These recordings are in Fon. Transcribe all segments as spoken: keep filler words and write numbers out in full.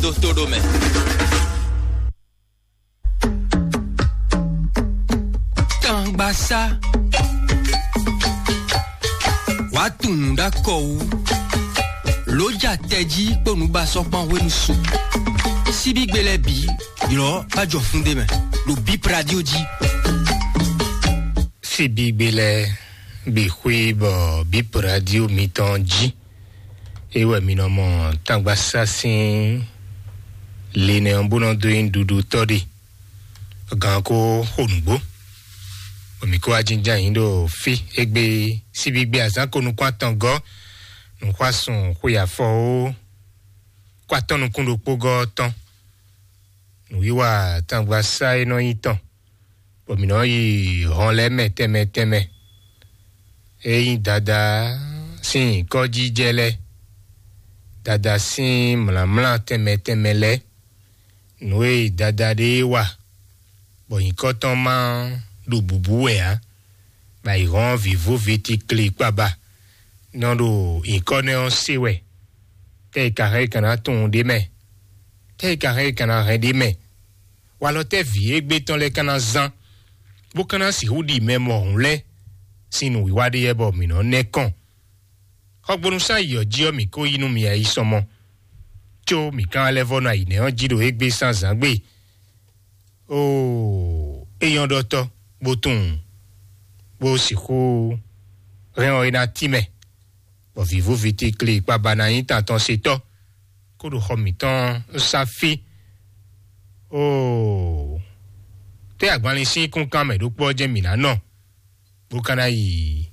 dó tó ɖó mɛ. Tangbasá. Wàá tunwun ɖó akɔ wú. Lǒ ja tɛjí kpó nǔbasɔ́kpán hwenu su. Síbígbe lɛ́ɛ bǐ ylɔ́ bá jɔ fún ɖé mɛ ɖo Bip Radio jí. Síbígbe lɛ́ɛ bǐ xwí bɔ Bip Radio mitɔn jí. É wɛ mi nɔ mɔ Tangbasá sín linɛ ɔ́ bó nɔ dó nyí ɖuɖutɔ́ ɖe. Gan ko xo nǔgbó, bɔ mǐ kó wá jínjɔ́n ayǐ ɖo fí égbé síbígbe azǎn ko nukún atɔngɔ́, nǔxwásún xwe afɔ ó, kó atɔ́ nukún ɖokpó gɔ́ ɔ́ tɔn. Nǔwiwa Tangbasá e nɔ nyí tɔn, bɔ mǐ nɔ yi hɔn lɛ́ɛ mɛ tɛnmɛ tɛnmɛ. É nyí Dadá sín nyǐkɔ́jijɛ lɛ́ɛ, Dadá sín mlǎmlá tɛnmɛ tɛnmɛ lɛ́ɛ. Nǔ e Dadá ɖe wa, bɔ nyǐkɔ tɔn ma ɖo bǔbú wɛ ǎ, bɔ ayǐhɔ́n vǐvú ví tikli kpaba nɔ ɖo nyǐkɔ nɛ́ ɔ́ se wɛ. Tɛ́ è ka hɛn é ka ná tunwun ɖ'é mɛ? Tɛ́ è ka hɛn é ka ná hɛn ɖ'é mɛ? Walɔ tɛ́ vǐ égbé tɔn lɛ́ɛ ka ná zán, bó ka ná sixú ɖi mɛ mɔ̌hun lɛ́ɛ sín nǔwiwa ɖé yɛ bɔ mǐ nɔ nɛ́ kɔn? Xɔgbónúsán yi ɔ́ jí ɔ́, mǐ kó yí nú mi ayisɔmɔ, có mǐ kán lɛ́ vɔ́ nɔ ayǐ nɛ́ ɔ́ jí ɖo égbé sín azǎn gbe. Oo, é nyɔ́ ɖɔtɔ́, bó tunwun, bó sixú hɛn ɔ́ é ná tínmɛ, bɔ vǐvú ví tikli kpaba ná nyí tantɔn setɔ́, kó ɖo xɔ mǐtɔn sá fí. Oo, tɛ́ agbanlin sín kúnkan mɛ ɖokpó ɔ́ jɛ́n mǐ ná nɔ, bó ka ná yi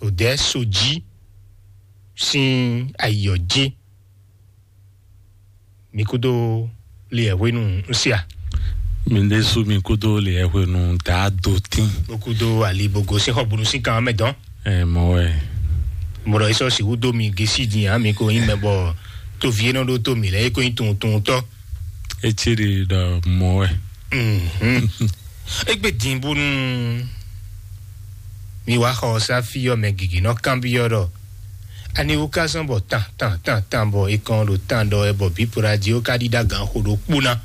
Odɛ̌ Sojí sín ayǐ ɔ́ jí. Mi kúdó liɛ hwenu ń sia. Mi ɖésú mi kúdó liɛ hwenu dǎ do tín. Bó kúdó ali bó gosín xɔgbónú sín kan mɛ dɔn. Ɛ mɔ wɛ. Mɔɖɔ yìí sɔ sixú dó mi gesi din hã mi ko nyí mɛ bɔ tovi e nɔ ɖó tó mi lɛ é ko nyí tuntun tɔ. Etí ɖi ɖɔ mɔ wɛ. Mhm. Egbe din bónú mi wá xɔ ɔ́ sá fí ɔ́ mɛ gěgé nɔ kanbyɔ́ ɖɔ aniwú ka zɔ́n bɔ tan tan tan tan bɔ è kɔn ɖo tan ɖɔ wɛ bɔ bípoɖa jí ó ka ɖíɖá gan xo ɖokpó ná.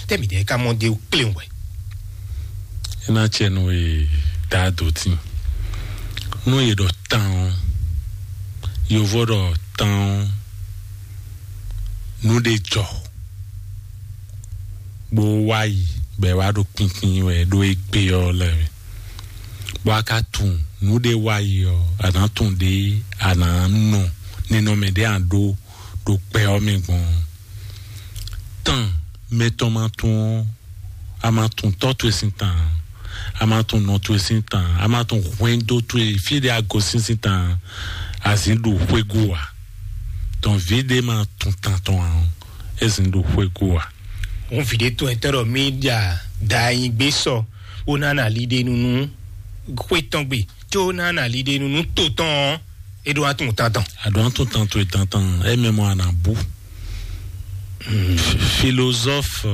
Tɛ́ mǐdɛɛ ka mɔ dé kléwún wɛ? É ná cɛ nú e daa dǒ tín. Nú e ɖɔ tan ɔ́, yovó ɖɔ tan ɔ́, nú ɖé jɔ bó wá yi bɔ è wá ɖo kpinkpin wɛ ɖó égbé ɔ́ lɛ́ɛ. Bɔ a ka tunwun nǔɖé wa yi ɔ́, a nǎ tunwun ɖě a nǎ nɔ ninɔmɛ ɖě a ɖó ɖo gbɛ ɔ́ mɛ gbɔn. Tán mɛtɔn ma tunwun ɔ́, a ma tunwun tɔ́ towe sín tan, a ma tunwun nɔ towe sín tan, a ma tunwun hwɛndo towe fí ɖé a gosín sín tan, a zǐn ɖo xwégú ǎ. Tɔn vǐ ɖé ma tunwun tan tɔn ǎ ɔ́, é zǐn ɖo xwégú ǎ. Hǔn vǐ ɖé tɔn e tɔ́ ɖɔ mí ɖa da nyi gbé sɔ bó ná na liɖenu nú xwé tɔn gbe, có ná na liɖenu nú to tɔn ɔ́, é ɖó atún tantɔn. Aɖɔ̌n tún tantɔn e tantɔn, é mɛ mɔ a nǎ bú. Philosophe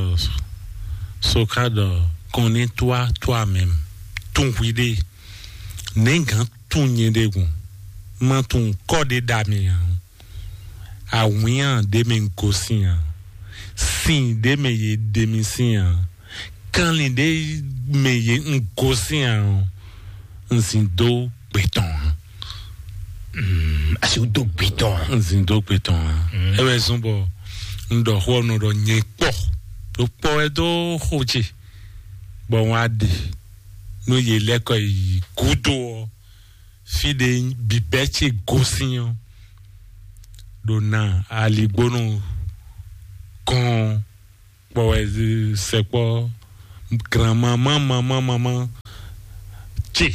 Socrate, connais-toi toi-même. Tún hwi ɖe. Nɛ̌ gǎn tún nyɛ ɖe gɔn? Má tún kɔ ɖe ɖa mi ǎ. Awǐnnya ɖé mɛ un gosín ǎ. Sin ɖé mɛ yě ɖe mi sín ǎ. Kanlin ɖé mɛ yě un gosín ǎ ɔ́, un zin dó gbe tɔn ǎ. Mm, asi wú dó gbe tɔn ǎ. Un zin dó gbe tɔn ǎ. Mm. É wɛ zɔ́n bɔ un ɖɔ xó ɔ́ nɔ ɖɔ nyɛ kpɔ. Ɖo kpɔ wɛ dó xó ce, bɔ un wá ɖe nú yě lɛ́ kɔ yi gúdo ɔ́, fí ɖé bǐbɛ́ ce gosín ɔ́, ɖo na aligbónú kɔn kpɔ wɛ sɛkpɔ granmamá mamá mamá ce,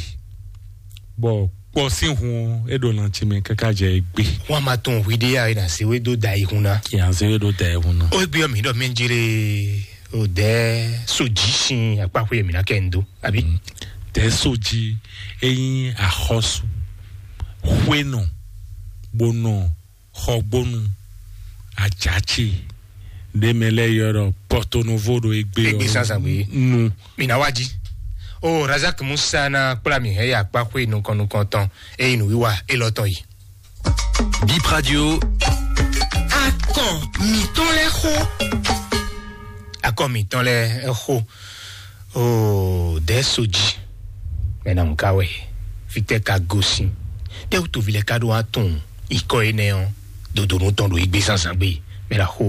bɔ kpɔ sín hun ɔ́, é ɖo lanci mɛ káká jɛ égbé. Wọn a ma tún hwi ɖé ya, yìí na se wé dó da ihun ná. Yìí na se wé dó da ihun ná. Ó gbé ɔmì ɖɔ mí ń jíré o dɛ so jí sin akpáxwé mi ná kẹ́ ń dó àbí. Tɛ so jí eyín àxɔsù xwénɔ bó nɔ xɔgbónu àjàchì ɖé mɛ lɛ yɔ ɖɔ pɔtonovo ɖo egbe Egbe ɔ sasa gbe. Nu. Mina wa ji. O Razak Musa na kpla mi hɛ ya kpa xwe nukɔn nukɔn tɔn eyi nu wiwa elɔ tɔn yi. Bip Radio. Akɔn. Mǐtɔn lɛ́ɛ xo. Akɔ mǐtɔn lɛ́ɛ xo. Oo, dɛ̌ sojí. Mɛ na nǔ ka wɛ? Fítɛ́ ka gosín? Tɛ́ wútu vi lɛ́ɛ ka ɖó wá tunwun ikɔ énɛ́ ɔ́, dodonu tɔn ɖo igbe zánzán gbe? Mɛ na xo.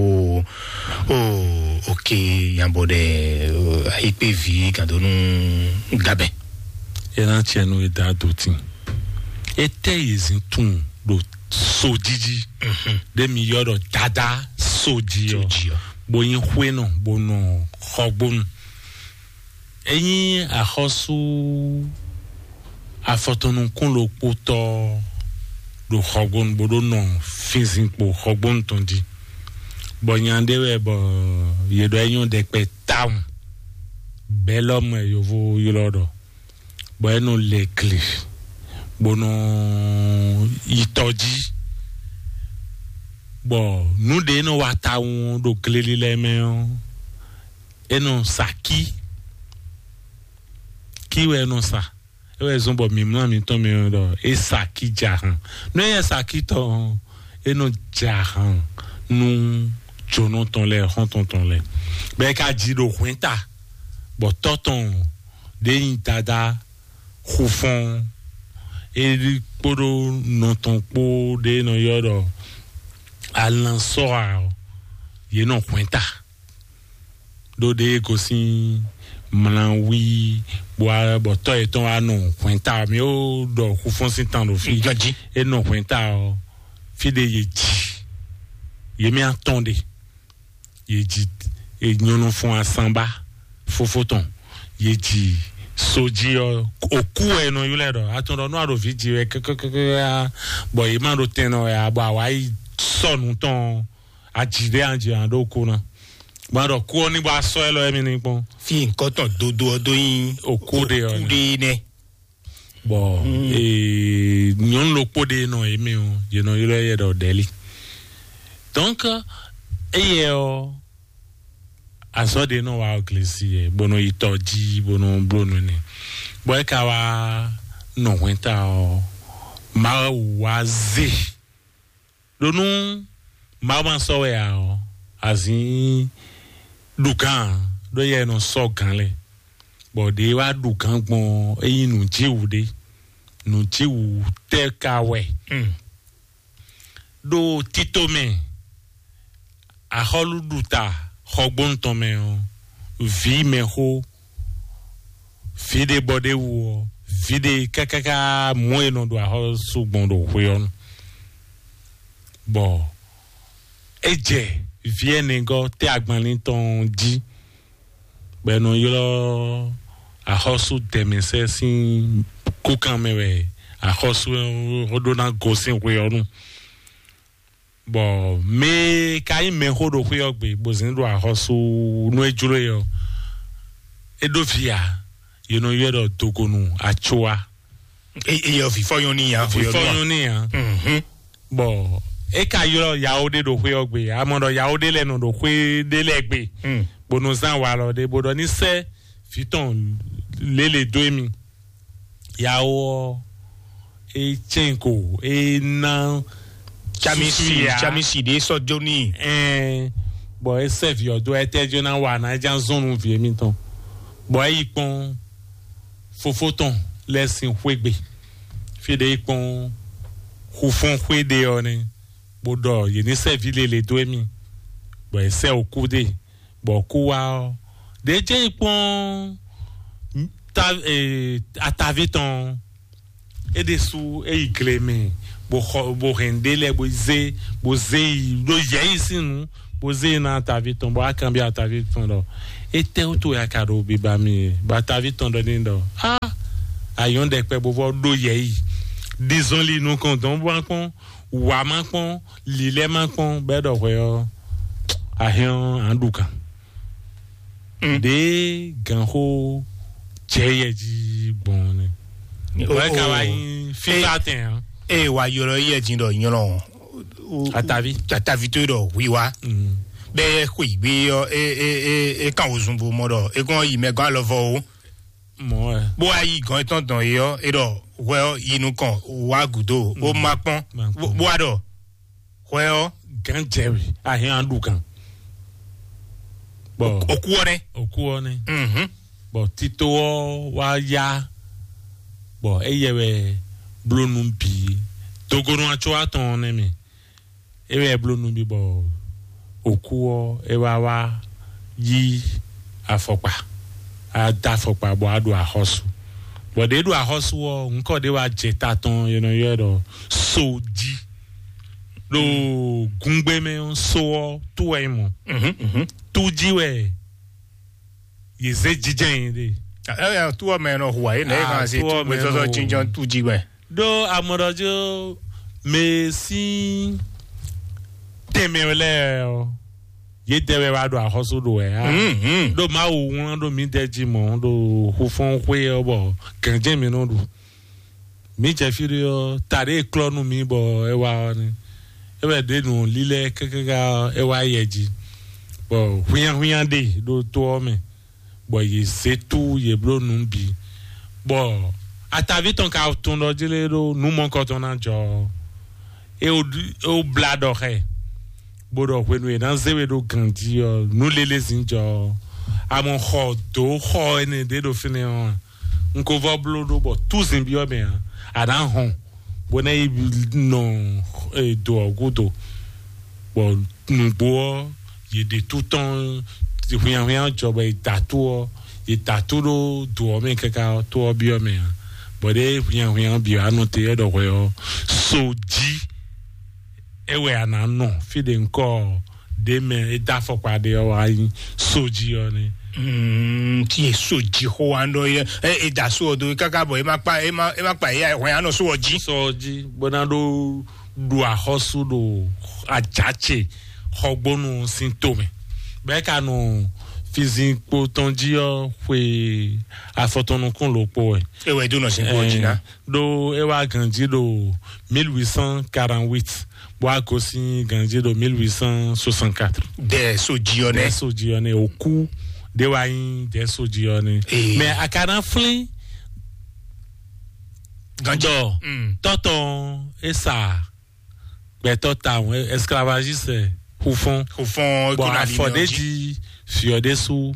Oo, ok. Yabɔ ɖɛ. Ayikpe vi gado nú gabɛ. Ena tiɛ nu eda do tin. Etɛ yezin tun ɖo sojiji. Ɖe mi yɔ ɖɔ dada soji ɔ. Soji ɔ. Bo yin xwe nɔ bo nɔ xɔgbonu. Enyi axɔsu afɔtɔnukúnɖokpótɔ ɖo xɔgbonu bó ɖó nɔ finzinkpo xɔgbonu tɔn jí. Bɔ nya ɖé wɛ bɔ yě ɖɔ é nyɔ́ ɖɛkpɛ tawun. Bɛlɔm wɛ yovo ylɔ́ ɖɔ. Bɔ é nɔ lɛ gle bó nɔ yi tɔ jí. Bɔ nǔ ɖé nɔ wa tawun ɖo gleli lɛ́ɛ mɛ ɔ́, é nɔ sa kí. Kí wɛ é nɔ sa. É wɛ zɔ́n bɔ mǐmlá mǐtɔn mɛ ɔ́ ɖɔ é sa kí ja han. Nú é yɛ sa kí tɔn ɔ́, é nɔ ja han nú jonɔ tɔn lɛ́ɛ, xɔ́ntɔn tɔn lɛ́ɛ. Bɔ é ka ji ɖo hwɛ̌nta, bɔ tɔ́ tɔn ɖě nyi Dadá Xufɔ́n, é kpódó nɔ tɔn kpó ɖě nɔ ylɔ́ ɖɔ Alansɔ́a ɔ́, yě nɔ hwɛ̌nta. Ɖó ɖě gosín mlawí bɔ tɔ́ yětɔn wá nɔ hwɛ̌nta. Mi ó ɖɔ Xufɔ́n sín tan ɖo fí. Ganjí. É nɔ hwɛ̌nta ɔ́, fí ɖé yě ji yě mɛ atɔn ɖe. Yě ji nyɔ́nɔfɔn asanba fófó tɔn. Yě ji sojí ɔ́, òkú wɛ nɔ ylɔ́ ɛ ɖɔ atɔn ɖɔ nú a ɖo vǐ ji wɛ kɛkɛkɛkɛ, bɔ yě má ɖo tɛn nɔ wɛ, bɔ àwa yi sɔ́ nǔ tɔn. Aji ɖé anji an ɖó kó ná. Gbɔn ɖɔ kú ɔ́ ní bɔ asɔ ɛ lɔ ɛmí ní kpɔn. Fi nkɔtɔn dodo ɔ́ dó nyi Okú ɖe ɔ́ okú nɛ. Ɖe nɛ. Bɔ ee, nyɔnu ɖokpó ɖe nɔ yě mɛ ɔ́, yě nɔ ylɔ́ yɛ ɖɔ ɖɛli. Donc eye ɔ́, azɔ ɖe nɔ wa glesi yɛ bó nɔ yi tɔ jí bó nɔ bló nu nɛ. Bɔ é ka wá nɔ hwɛ́nta ɔ́, Mawu wá zé. Ɖo nú Mawu ma sɔ́ wɛ ǎ ɔ́, azǐn ɖu gǎn ǎ, ɖó yɛ nɔ sɔ́ gǎn lɛ́ɛ. Bɔ ɖě wá ɖu gǎn gbɔn ɔ́, é nyí nǔjíwǔ ɖé. Nǔjíwǔ tɛ́ ka wɛ? Ɖo tito mɛ, axɔ́lúɖuta xɔgbónu tɔn mɛ ɔ́, vǐ mɛxó, vǐ ɖé bɔ ɖ'é wú ɔ́, vǐ ɖé kákáká mɔ̌ e nɔ ɖo axɔ́sú gbɔn ɖo xwe ɔ́ nu. Bɔ é jɛ vǐ ɛnɛgɔ́ tɛ́ agbanlín tɔn jí, bɔ è nɔ ylɔ́ axɔ́sú dɛ̌mɛsɛ́ sín kúkan mɛ wɛ axɔ́sú ɔ́ ɖó ná gosín xwe ɔ́ nu. Bɔ mɛ e ka nyí mɛxó ɖo xwé ɔ́ gbe, bó zɛ́n ɖo axɔ́sú nú é jló e ɔ́, é ɖó vǐ ǎ. Yě nɔ ylɔ́ ɛ ɖɔ dogonu Atsua. Eye ɔ fifɔ nyɔ ni ya. Fifɔ nyɔ ni ya. Bɔ é ka ylɔ́ yawo ɖé ɖo xwé ɔ́ gbe, amɔ ɖɔ yawo ɖé lɛ́ɛ nɔ ɖo xwé ɖé lɛ́ɛ gbe, bó nɔ zán walɔ ɖé bó ɖɔ ní sɛ́ vǐ tɔn lélẹ̀ dó émi. Yawo ɔ́, é cɛn ko é ná Chamisi susu ya. Chamisi ɖe sɔ jó ni. Ɛn, bɔ é sɛ vǐ ɔ́ dó, ɛtɛ jó ná wa ná é já zɔn nú vǐ émítɔn. Bɔ é yi kpɔ́n fofó tɔn lɛ́ɛ sín xwé gbe. Fí ɖé yi kpɔ́n xufɔ́n xwé ɖé ɔ́ nɛ́, bó ɖɔ yě ní sɛ vǐ lele dó émí, bɔ é sɛ òkú ɖe, bɔ kú wá ɔ́, ɖě jɛ́n yi kpɔ́n ta, e, ataví tɔn ɔ́, é ɖésú é yi gle mɛ, bó xɔ bó hɛn ɖé lɛ́ɛ bó zé bó zé yi ɖó yɛ̌yi sín nǔ, bó zé yi ná ataví tɔn, bó wá kanbyɔ́ ataví tɔn ɖɔ étɛ́ wútu wɛ a ka ɖo biba mì é? Bɔ ataví tɔn ɖɔ n'i ɖɔ á, ayɔ́n ɖɛkpɛ bó vɔ ɖó yɛ̌yi, ɖizɔn li nukɔn dɔn bó wá kpɔ́n, wǎ má kpɔ́n, lǐlɛ́ má kpɔ́n, bɔ é ɖɔ hwɛ ɔ́, a hɛn ɔ́, a nǎ ɖu gǎn. Ɖěe gǎnxó jɛ yɛ jí gbɔn nɛ. Wɛ ka wá nyí fífá tɛn ǎ. Eye wa ylɔ yɛ jí ɖɔ nylɔ. Atavi. Atavi tó ɖɔ wiwa. Bɛ xwe gbe yɔ e e e e kan wozun bo mɔ ɖɔ e kɔn yi mɛ gɔn alɔ vɔ o. Mɔ ɛ. Bó wá yi gɔn etɔn dɔn yi ɔ e ɖɔ hwɛ ɔ yi nukɔn wá gudo o ma kpɔn. Bó wá ɖɔ hwɛ ɔ Gǎn jɛ wɛ, a hɛn an ɖu gǎn. Bɔ òkú ɔ́ nɛ́. Òkú ɔ́ nɛ́. Mhm. Bɔ tito ɔ́ wá yá, bɔ éyɛ wɛ bló nú bǐ. Dogonu atsɔ atɔn ɔ́ nɛ́ mɛ. É wɛ bló nú bǐ bɔ òkú ɔ́ é wá wá yí afɔkpa, á dó afɔkpa bɔ á ɖo axɔ́sú. Bɔ ɖě ɖo axɔ́sú ɔ́, ŋkɔ ɖé wá jɛ ta tɔn, è nɔ ylɔ́ ɛ ɖɔ Sojí. Ɖo gungbe mɛ ɔ́, so ɔ́, tú wɛ nyí mɔ̌. Mhm, mhm. Tú jí wɛ yě zé jijɛ nyi ɖe. Ɛ, ɛ, tú ɔ́ mɛ nɔ hu ǎ, é nɛ é Ah, kan se tú tú ɔ́ mɛ gbɛzɔzɔ nɔ hu. Jínjɔ́n tú jí wɛ. Ɖó amɔɖɔjó mɛ sín tɛnmɛ lɛ́ɛ ɔ́, yědɛɛ wɛ wá ɖo axɔ́sú ɖo wɛ á. Mhm. Ɖó Mawu wlán ɖó mǐdɛɛ jí mɔ̌ ɖo xufɔ́n xwé ɔ́, bɔ gǎnjɛ́n mǐ nɔ ɖu. Mǐ jɛ fí ɖé ɔ́, ta ɖé e klɔ́ nú mǐ bɔ é wá ɔ́ nɛ́. É wɛ ɖě nǔ lílɛ́ káká é wá yɛ jí, bɔ hwínnyáhwínnyá ɖe ɖo tó ɔ́ mɛ, bɔ yě zé tú yě bló nǔ bǐ, bɔ ataví tɔn ka tunwun ɖɔ jí lé ɖó nǔ mɔ̌kɔtɔn ná jɔ ɔ́, é wó blá ɖɔ xá ɛ, bó ɖɔ hwenu e è nǎ zé we ɖó ganjí ɔ́, nǔ lélé zǐn jɔ ɔ́, a mɔ xɔ dǒ xɔ énɛ́ ɖé ɖo fínɛ́ ɔ́ a? Un ko vɔ bló ɖó bɔ túzin byɔ́ mɛ ǎ, a nǎ hɔn bó ná yi nɔ e, do ɔ́ gúdo, bɔ nǔgbó ɔ́, yě ɖe tú tɔn hwinnyahwinnya jɔ bɔ è da tó ɔ́, è da tó ɖó do ɔ́ mɛ káká ɔ́, tó ɔ́ byɔ́ mɛ ǎ, bɔ ɖěe hwinnyahwinnya bǐ wá nɔ te é ɖɔ hwɛ ɔ́, so jí é wɛ a nǎ nɔ fí ɖě ŋkɔ ɔ́, ɖě mɛ é dó afɔkpa ɖé ɔ́ wá nyí so jí ɔ́ nɛ́. Mm, tí e so jí xó wa ɖɔ yɛ, ɛ, e da so ɔ do káká bɔ e ma kpa e ma e ma kpa e ya hwɛ anɔ so ɔ jí. Sɔ jí bó ná ɖó ɖu axɔ́sú ɖo ajace xɔgbónu sín tomɛ, bɛ́ ka nɔ fizinkpo tɔn jí ɔ́ xwe afɔtɔnnukún lǒkpó wɛ. E wɛ dó nɔ sin kó jí ná. Ɖó é wá ganjí ɖo mille huit cent quarante-huit, bó wá gosín ganjí ɖo mille huit cent soixante-quatre. Dɛ so jí ɔ́ nɛ. Dɛ so jí ɔ́ nɛ, òkú ɖé wá nyí dɛ so jí ɔ́ nɛ. Ee. Mɛ a ka ná flín Ganjí. Dɔ Mm. Tɔtɔn é sa gbɛtɔ tawun, esclavagiste, xufɔn. Xufɔn. Bɔn afɔɖéji fiɔ ɖésú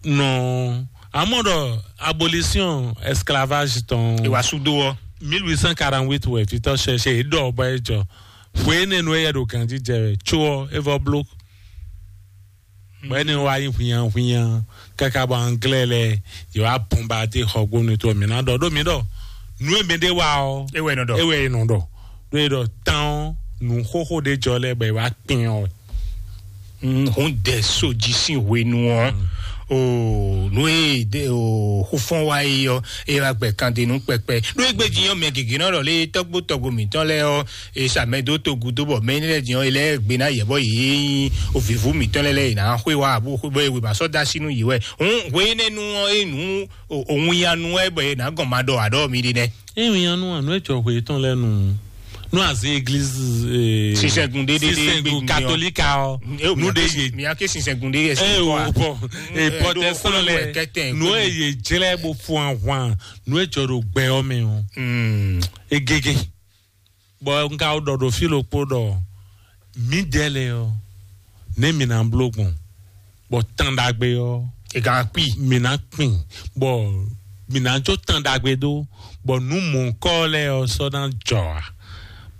nɔ amɔ ɖɔ abolition esclavage tɔn. Ìwà sudo ɔ. Mille huit cent quarante-huit wɛ vitɔ cherche é ɖɔ bɔ é jɔ hwe énɛ́ nu é yɛ ɖo ganjí jɛ wɛ tso ɔ é vɔ bló. Bɔ énɛ́ wá nyí hwinyan hwinyan káká bɔ anglais lɛ yě wá bombarder xɔgbónu tó mǐ ná ɖɔ ɖó mǐ ɖɔ nǔ e mɛ ɖé wá ɔ. É wɛ nɔ ɖɔ. É wɛ nɔ ɖɔ. Ɖó é ɖɔ tán ɔ́ nǔ xóxó ɖé jɔ lɛ́ɛ bɔ é wá kpin ɔ. Hun dɛ so jí sín hwenu ɔ o nú e de o xufɔn wa yi ɔ e wa gbɛ kan de nú pɛpɛ ɖó egbe jí yɔ mɛ gègé nɔ ɖɔ lé tɔgbo tɔgbo mǐtɔn lɛ ɔ e sa mɛ dó togu dó bɔ mɛ ne lɛ jí yɔ e lɛ gbe ná yɛ bɔ yìí o vivu mǐtɔn lɛ lɛ yìí ná xwé wa abo xwé bɔ ewe ma sɔ da sí nú yìí wɛ hun hwe ne nu ɔ e nu o ŋuya nu wɛ bɔ e ná gɔn ma ɖɔ aɖɔ mi ɖi nɛ. Ewinnyanu anu etsɔ hwe tɔn lɛ nu nu aze église. Sinsɛngun ɖe ɖe ɖe sinsɛngun katolika ɔ nu ɖe ye. Mia ke sinsɛngun ɖe ye. Eye o bɔ e protestant lɛ nu eye jlɛ bo fún ahwan nu etsɔ ɖo gbɛ ɔ mɛ o. Egege bɔ n ka ɖɔ ɖo fí ɖokpó ɖɔ mǐdɛɛ lɛ ɔ ne mǐ ná bló gbɔn bɔ tán ɖagbe ɔ. Ega kpi. Mǐ ná kpin bɔ mǐ ná jó tán ɖagbe dó bɔ nǔ mɔ̌kɔ lɛ́ɛ ɔ sɔ́ ná jɔ a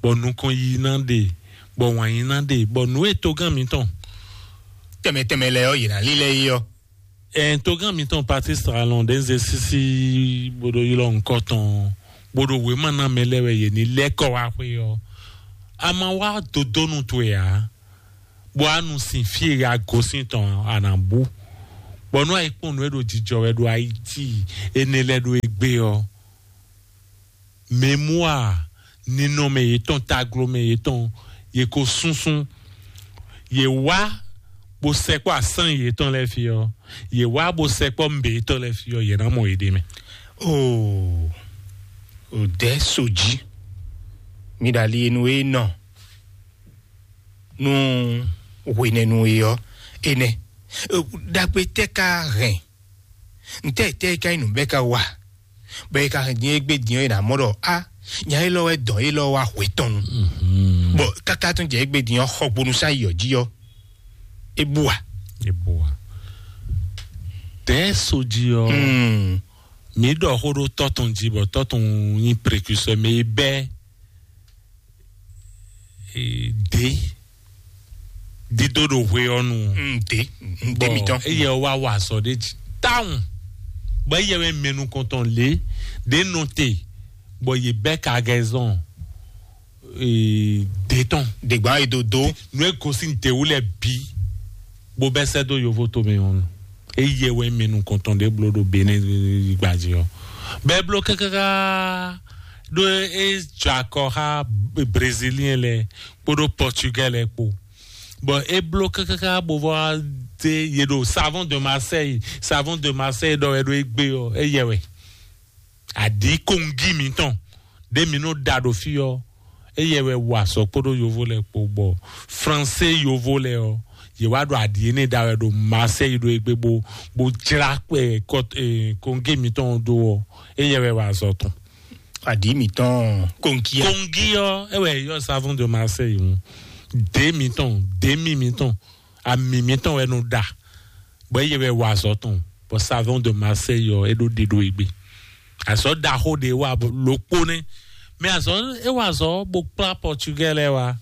bɔ nukɔn yi ná ɖe bɔ wǎn yi ná ɖe bɔ nǔ e togán mǐtɔn tɛmɛ tɛmɛ lɛ ɔ yě ná lílɛ yi ɔ. Ɛn togán mǐtɔn Patrice Talon ɖe ń ze sísí bó ɖo ylɔ́ nukɔ tɔn bó ɖo wěma ná mɛ lɛ́ɛ wɛ yě ní lɛ́ kɔ wá xwé ɔ a ma wá dodónu towe ǎ. Bɔ a nu sin fí e a gosín tɔn a nǎ bú. Bɔ nú a yi kpɔ́n nǔ e ɖo jijɔ wɛ ɖo Ayiti énɛ́ lɛ́ɛ ɖo égbé ɔ́, mɛmúa ninɔmɛ yětɔn taglomɛ yětɔn yě ko súnsún. Yě wá bó sɛkpɔ́ asán yětɔn lɛ́ɛ fí ɔ́, yě wá bó sɛkpɔ́ mbě yětɔn lɛ́ɛ fí ɔ́, yě ná mɔ yěɖée mɛ. Oo, o dɛ so jí. Mi ɖali enu e nɔ nú hwenɛnu e ɔ́ enɛ. Ɖagbe tɛ́ ka hɛn? Ntɛ́ tɛ́ ka nyí nǔ bɛ́ ka wa? Bɔ è ka hɛn din e gbé din ɔ́, è nǎ mɔ ɖɔ a Nya élɔ́ wɛ dɔn élɔ́ wá hwe tɔn nu. Bɔn káká tún jɛ égbé din ɔ́, xɔgbónú sá yɔ jí ɔ́, é bú wa. Eboa. Tɛ soji ɔ. Hmm. Mi ɖɔ xó ɖó tɔtɔn jí bɔ tɔtɔn nyi précurseur, mɛ yi bɛ. Dé dídó ɖo hwe ɔ́ nu. Mm, dé. Mm, dé Bɔn mitɔn. Eye wá wá azɔ ɖé jí táwọn. Bɔ eye wɛ mɛnu kɔntɔn lé ɖé nɔ te. Bɔ ye bɛ ka gɛzɔn. Dé tɔn. Dègbà yi do do. Nu e gosi dewu lɛ bi. Bó bɛ sɛ dó yovo to mɛ ɔn. Eye wɛ mɛnu kɔntɔn ɖé blo ɖo Benin gbaji ɔ. Bɛ blo kakaka ɖo e jɔ akɔ xa Brésilien lɛ kpódó Portugais lɛ kpó. Bɔn é bló kákáká bó vɔ dé ye ɖo Savon de Marseille, Savon de Marseille ɖɔ wɛ ɖo égbé ɔ, éyɛ wɛ. Aɖǐ kongi mǐtɔn ɖé mi nɔ ɖa ɖo fí ɔ, éyɛ wɛ wa sɔ kpódó yovo lɛ kpó bɔ Fransé yovo lɛ ɔ, yě wá ɖo aɖǐ énɛ́ ɖa wɛ ɖo Marseille ɖo égbé bó bó jlá kpɛ kɔt- eh, kongi mǐtɔn ɖó ɔ, éyɛ wɛ wa azɔ tɔn. Aɖǐ mǐtɔn kongi ɔ. Kongi ɔ, é wɛ yɔ Savon de Marseille ŋu. Dé mǐtɔn, dé mi mǐtɔn, ami mǐtɔn wɛ nɔ ɖa. Bɔ eye wɛ wa azɔ tɔn, bɔ Savon de Marseille ɔ, é ɖo ɖiɖo yi gbe. Azɔ ɖaxó ɖe wa lokpo nɛ. Mɛ azɔ é wa azɔ bó kplá Portugais lɛ wa.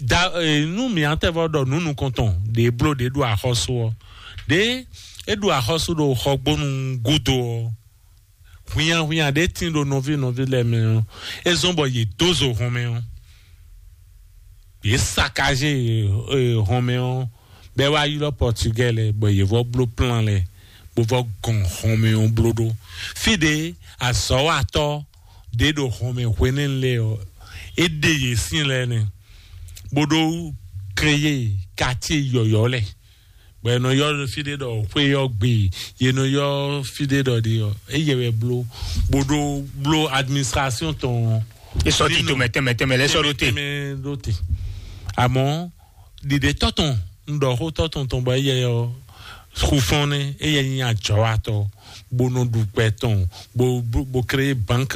Da eh, nu mi atɛ vɔ ɖɔ nu nukɔntɔn ɖe blo ɖe ɖo axɔsú ɔ. Ɖe é ɖo axɔsú ɖo xɔgbónu gúdo ɔ. Hwinnyahwinnya ɖé tín ɖo nɔví nɔví lɛ́ɛ mɛ ɔ́, é zɔ́n bɔ yě dó zo hɔn mɛ ɔ́, yě sakaze hɔn mɛ ɔ́, bɔ é wá ylɔ́ Pɔtugɛ́ɛ lɛ́ɛ, bɔ yě vɔ bló plan lɛ́ɛ, bó vɔ gɔn hɔn mɛ ɔ́ bló ɖó. Fí ɖě azɔ̌watɔ́ ɖě ɖo hɔn mɛ hwenɛ́nu lɛ́ɛ ɔ́, é ɖe yě sín lɛ́ɛ nɛ́, bó ɖó kreyé katíe yɔ̌yɔ́ lɛ́ɛ. Bɔ è nɔ ylɔ́ fí ɖé ɖɔ xwé ɔ́ gbe, yě nɔ ylɔ́ fí ɖé ɖɔ ɖi ɔ́, éyɛ wɛ bló, bó ɖó bló administration tɔn. É sɔ́ ti tomɛ tɛnmɛ tɛnmɛ lɛ́ sɔ́ ɖó te. Tɛnmɛ ɖó te. Àmọ́ ɖiɖe tɔtɔn, un ɖɔ xó tɔtɔn tɔn bɔ éyɛ ɔ́ xufɔn nɛ, éyɛ nyi ajɔwatɔ, bó nɔ ɖu gbɛ tɔn, bó bó bó créer banque.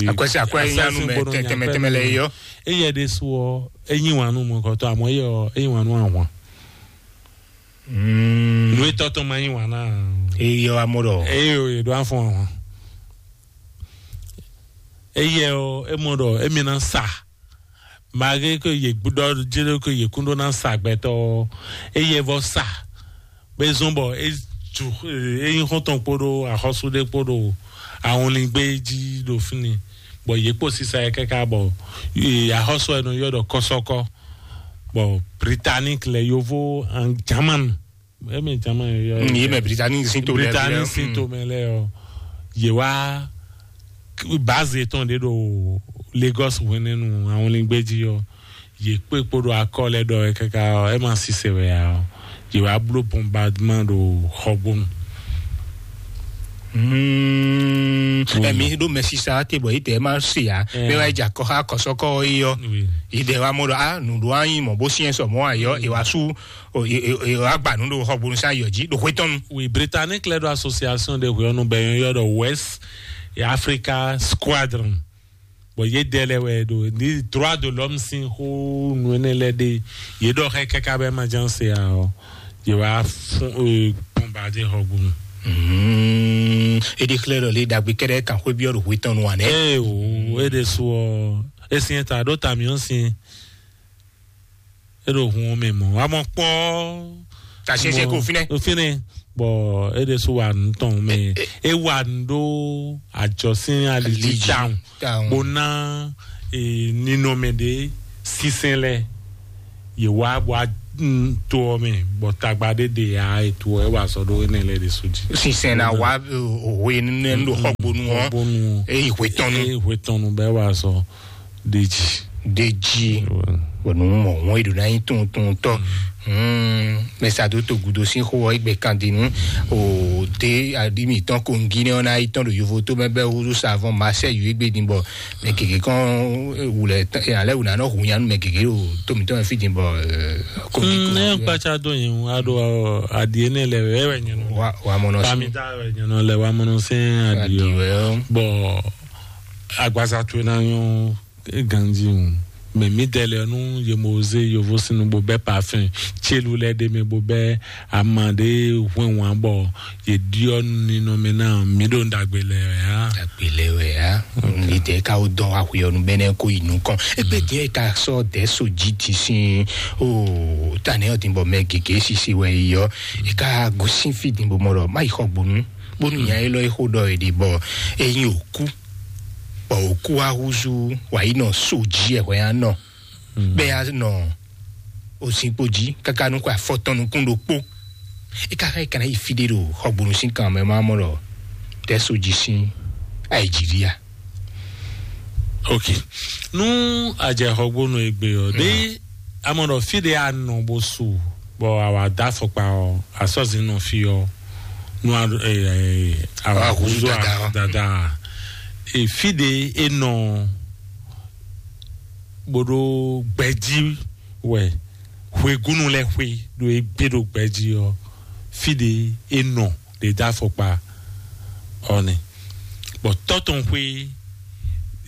Akwɛsi akwɛ nyi anu mɛ tɛnmɛ tɛnmɛ lɛ yɔ. Éyɛ ɖésú ɔ́, é nyi wǎn nú mɔkɔtɔ, àmọ́ éyɛ ɔ́, é nyi wǎn nú ahwan. Nu etɔ́ tɔn ma nyi wǎn ná. Eyɔ amɔ ɖɔ. Eye o, yě ɖo afɔn ahwan. Eye o, emɔ ɖɔ emi ná sa. Mage ko yě gbúdɔ jéré ko yě kún ɖó ná sa gbɛtɔ. Eye vɔ sa. Bɛ zɔn bɔ e ju e nyi xɔntɔn kpo ɖo axɔsu ɖe kpo ɖo ahɔnlingbe jí ɖo fínni. Bɔ yě kpo sisa yɛ kɛkɛ bɔ axɔsu ɛ nɔ yɔ ɖɔ kɔsɔkɔ. Bɔ Britannique lɛ yovo an German. Eme German yɔ. Yé mɛ Britannique sin to lɛ. Britannique sin to mɛ lɛ ɔ. Yé wá base tɔn ɖe ɖo Lagos hwenɛnu ahɔnlingbe jí ɔ. Yé kpé kpo ɖo akɔ lɛ ɖɔ ɛ kaka ɔ, ɛ ma sise wɛ ya ɔ. Yé wá bló bombardement ɖo xɔgbónu. Mm. Emi ɖo mɛsisa te bɔ ite ma se ya. Mɛ wa dza kɔ ha kɔsɔkɔ yi yɔ. Ide wa mɔ ɖɔ a nu ɖo anyi mɔ bo siɛ sɔ mɔ ayɔ e wa su o e e e wa gba nu ɖo xɔgbónu sa yɔ dzi ɖo xwetɔnu. Oui, Britannique lɛ ɖo association de hweɔnu bɛ yɔ ɖɔ West Africa Squadron. Bɔn yé dɛ lɛ wɛ ɖo ni droit de l'homme sin xó nu énɛ́ lɛ ɖe yé ɖɔ xɛ kaka bɛ ma jan se a ɔ yé wa fún bombardier xɔgbónu. Eɖi xlɛ ɖɔ lé dagbe kɛɖɛ kan xwé biɔ ɖo hwetɔn nu anɛ. Ee o, e ɖe su ɔ, esin ta ɖo tamiɔ sin, e ɖo hun mɛ mɔ, wa mɔ kpɔ. Tasiɛsiɛ ko finɛ. Finɛ, bɔ e ɖe su wa nu tɔn mɛ, e wa nu ɖo ajɔsin alili Aliji. Down. Down. Bo na ninɔmɛ ɖe sinsɛn lɛ. Yè wá bɔ a to ɔ mɛ bɔ tagba ɖé ɖe ya ètò ɛ wà sɔ ɖó énɛ́ lɛ ɖe sódì. Sinsɛn na wá òwe nínú ɖo xɔgbónú ɔ. Xɔgbónú. Eyi hwetɔnu. Eyi hwetɔnu bɛ wà sɔ ɖe dzi. Ɖe dzi. Bɔnu mɔ wọn eɖo na nyi tuntun tɔ. Mɛ sa do to gudo sin xo ɔ egbe kan di nu. O de adi mi tɔn kongi ne ɔ na yi tɔn ɖo yovo to mɛ bɛ wudu savon masɛ yu egbe di bɔ mɛ gege kɔn wulɛ alɛ wuna nɔ hu yanu mɛ gege o to mi tɔn fi di bɔ. Kongi ne kpatsa do yin a do adi ene lɛ wɛ wɛ nyɔnɔ. Wa wa mɔnɔ sin. Pamita wɛ nyɔnɔ lɛ wa mɔnɔ sin adi o. Bɔ Agbaza towe ná nyɔ́ ganjí o. Mɛ mǐdɛɛ lɛ́ɛ nú yě mɔ zé yovósínú bó bɛ́ parfɛn célu lɛ́ɛ ɖ'é mɛ bó bɛ́ ama ɖé hwɛnhwan bɔ yě ɖyɔ́ ninɔmɛ ná mǐ ɖo ɖagbe lɛ wɛ á. Ɖagbe lɛ wɛ á. Lidɛ ka wo dɔn wa hwe ɔnu bɛnɛ ko yi nukɔn. Ebe diɛ ka sɔ dɛ so ji ti sin o. Tanɛ ɔ din bɔ mɛ gege sisi wɛ yi yɔ. E ka gosin fi din bɔ mɔ ɖɔ ma yi xɔ gbonu. Bonu nya élɔ́ e xo ɖɔ e ɖi bɔ e nyi oku. Bɔ oku wa húzú wa yi nɔ so ji ɛ hwɛ ya nɔ. Bɛ ya nɔ ozinkpo ji kaka nukun afɔtɔn nukun ɖokpo. E ka xɛ kana yi fi ɖe ɖo xɔgbonu sin kan mɛ ma mɔ ɖɔ tɛ so ji sin ayi ji via. Ok. Nú a jɛ xɔgbonu egbe ɔ ɖe, a mɔ ɖɔ fi ɖe a nɔ bó su bɔ a wa da afɔkpa ɔ, a sɔ zin nɔ fi ɔ, nú a ɛ ɛ a wa Wa húzú húzú dada ɔ. Dada ɛ, fi ɖe e nɔ bó ɖó gbɛjí wɛ hwegúnu lɛ́ɛ xwé ɖo e gbé ɖo gbɛjí ɔ, fi ɖe e nɔ ɖe dó afɔkpa ɔ nɛ. Bɔ tɔ́ tɔn xwé,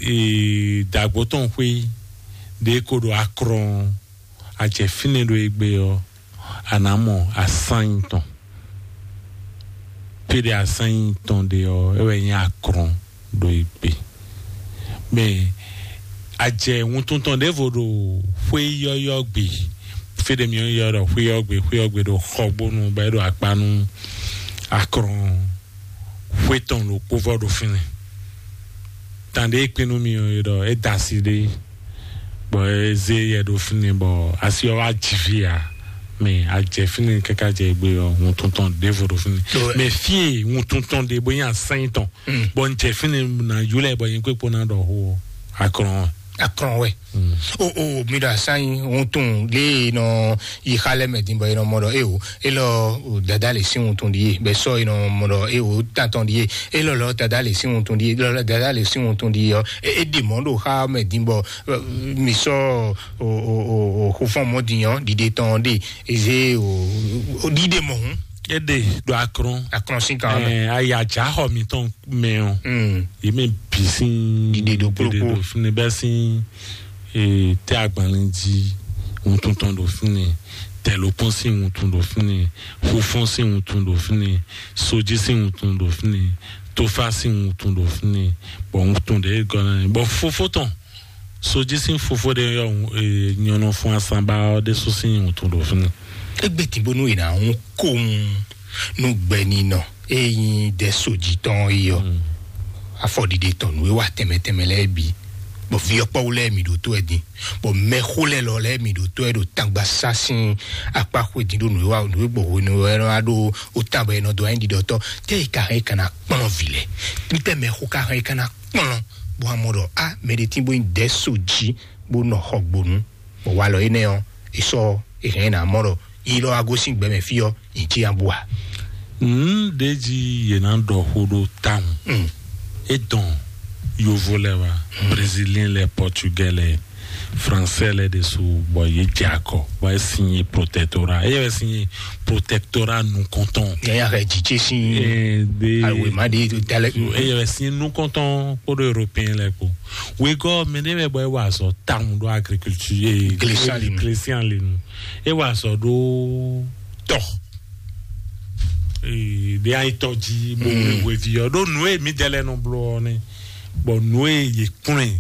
ee, dǎgbó tɔn xwé ɖe ko ɖo akrɔn a jɛ fínɛ́ ɖo e gbé ɔ́, a nǎ mɔ asányi tɔn. Péɖé asányi tɔn ɖe ɔ́, é wɛ nyí akrɔn ɖo e gbé. Mɛ a jɛ wuntun tɔn ɖěvo ɖo xwé yɔ́yɔ́ gbe. Fé ɖé mi ɔ́ ylɔ́ ɖɔ xwé ɔ́ gbe, xwé ɔ́ gbe ɖo xɔgbónu bɔ é ɖo akpa nú akrɔn xwé tɔn ɖokpó vɔ ɖo fínɛ́. Tán ɖé kpín nú mi ɔ́ é ɖɔ é da asi ɖé bɔ é zé yɛ ɖo fínɛ́ bɔ asi ɔ́ wá ji fí ǎ. Mɛ a jɛ fínɛ́ káká jɛ gbé ɔ́, wuntun tɔn ɖěvo ɖo fínɛ́. Mɛ fí e wuntun tɔn ɖe bó nyí asányi tɔn bɔ n jɛ fínɛ́ ná yúlẹ̀ bɔ nyɛ kpékpó ná ɖɔ xó ɔ́, akrɔn ɔ́. Akrɔn wɛ. O o mi ɖo asányi wuntun lé nɔ yi xa lɛ mɛ din bɔ e nɔ mɔ ɖɔ e o e lɔ o dada le sin wuntun di ye bɛ sɔ e nɔ mɔ ɖɔ e o tantɔn di ye e lɔ lɔ dada le sin wuntun di ye lɔ lɔ dada le sin wuntun di ye ɔ e e ɖe mɔ ɖo xa mɛ din bɔ mi sɔ o o o o xofɔn mɔ din ɔ ɖiɖe tɔn ɖe eze o o ɖiɖe mɔ hun. E ɖe ɖo akrɔn. Akrɔn sin kan mɛ. Ɛ, ayi ajaxɔ mitɔn mɛ ɔ. Yě mɛ bǐ sín ɖiɖe ɖo kplɔ́kpó. Ɖiɖe ɖo fínɛ́ bɛ́ sín, ee, tɛ́ agbanlin jí wuntun tɔn ɖo fínɛ́, tɛ̌lókpɔ́n sín wuntun ɖo fínɛ́, xofɔ́n sín wuntun ɖo fínɛ́, sojí sín wuntun ɖo fínɛ́, tófá sín wuntun ɖo fínɛ́, bɔ wuntun ɖě gɔ́ ná bɔ fofó tɔn sojí sín fofó ɖé yɔ nyɔnɔ fún asanba ɔ́ ɖésú sín wuntun ɖo fínɛ́. Egbe tìnbónú yìí ná hún kóhun nú gbɛninɔ e nyí dɛ sojí tɔn é yɔ. Afɔɖiɖe tɔn nú é wá tɛnmɛ tɛnmɛ lɛ́ɛ bǐ, bɔ vǐ ɔ́ kpɔ́wú lɛ́ɛ mi ɖo tó ɛ din, bɔ mɛxó lɛ́ɛ lɔ lɛ́ɛ mi ɖo tó ɛ ɖo tangba sá sín akpá xwedín ɖo nǔ e wá nǔ e gbɔ hwenu ɛ wá ɖó ó tán bɔ è nɔ dó anyí ɖiɖɔtɔ́. Tɛ́ è ka hɛn é ka ná kplɔ́n vǐ lɛ́ɛ? Ntɛ́ mɛxó ka hɛn é ka ná kplɔ́n bó wá mɔ ɖɔ á mɛ ɖé tín bó nyí dɛ sojí bó nɔ xɔ gbonu, bɔ walɔ énɛ́ ɔ́, è sɔ́ è hɛn ɛ ná mɔ ɖɔ yi lɔ wá gosín gbɛ mɛ fí ɔ́, nyi cí abú a? Nǔɖéjí yě ná ɖɔ xó ɖó tawun. É dɔn yovo lɛ wá, brésilien lɛ, portugais lɛ, français lɛ ɖésú, bɔ yě jɛ akɔ bɔ é sin yi protectorat. Eye wɛ sin yi protectorat nukɔntɔn. Yaya hɛ jijé sin. Awe ma ɖi dalɛ. Eye wɛ sin nukɔntɔn kpódó européen lɛ kpó. Wegɔ mɛ ɖé wɛ bɔ é wa azɔ tawun ɖó agriculture. Glesian linu. Glesian linu. É wa azɔ ɖó tɔ. Ɖé ayi tɔ jí bó wé hweví ɔ́ ɖó nǔ e mǐdɛɛ lɛ́ɛ nɔ bló ɔ́ nɛ́, bɔ nǔ e yě kplɔ́n ɛ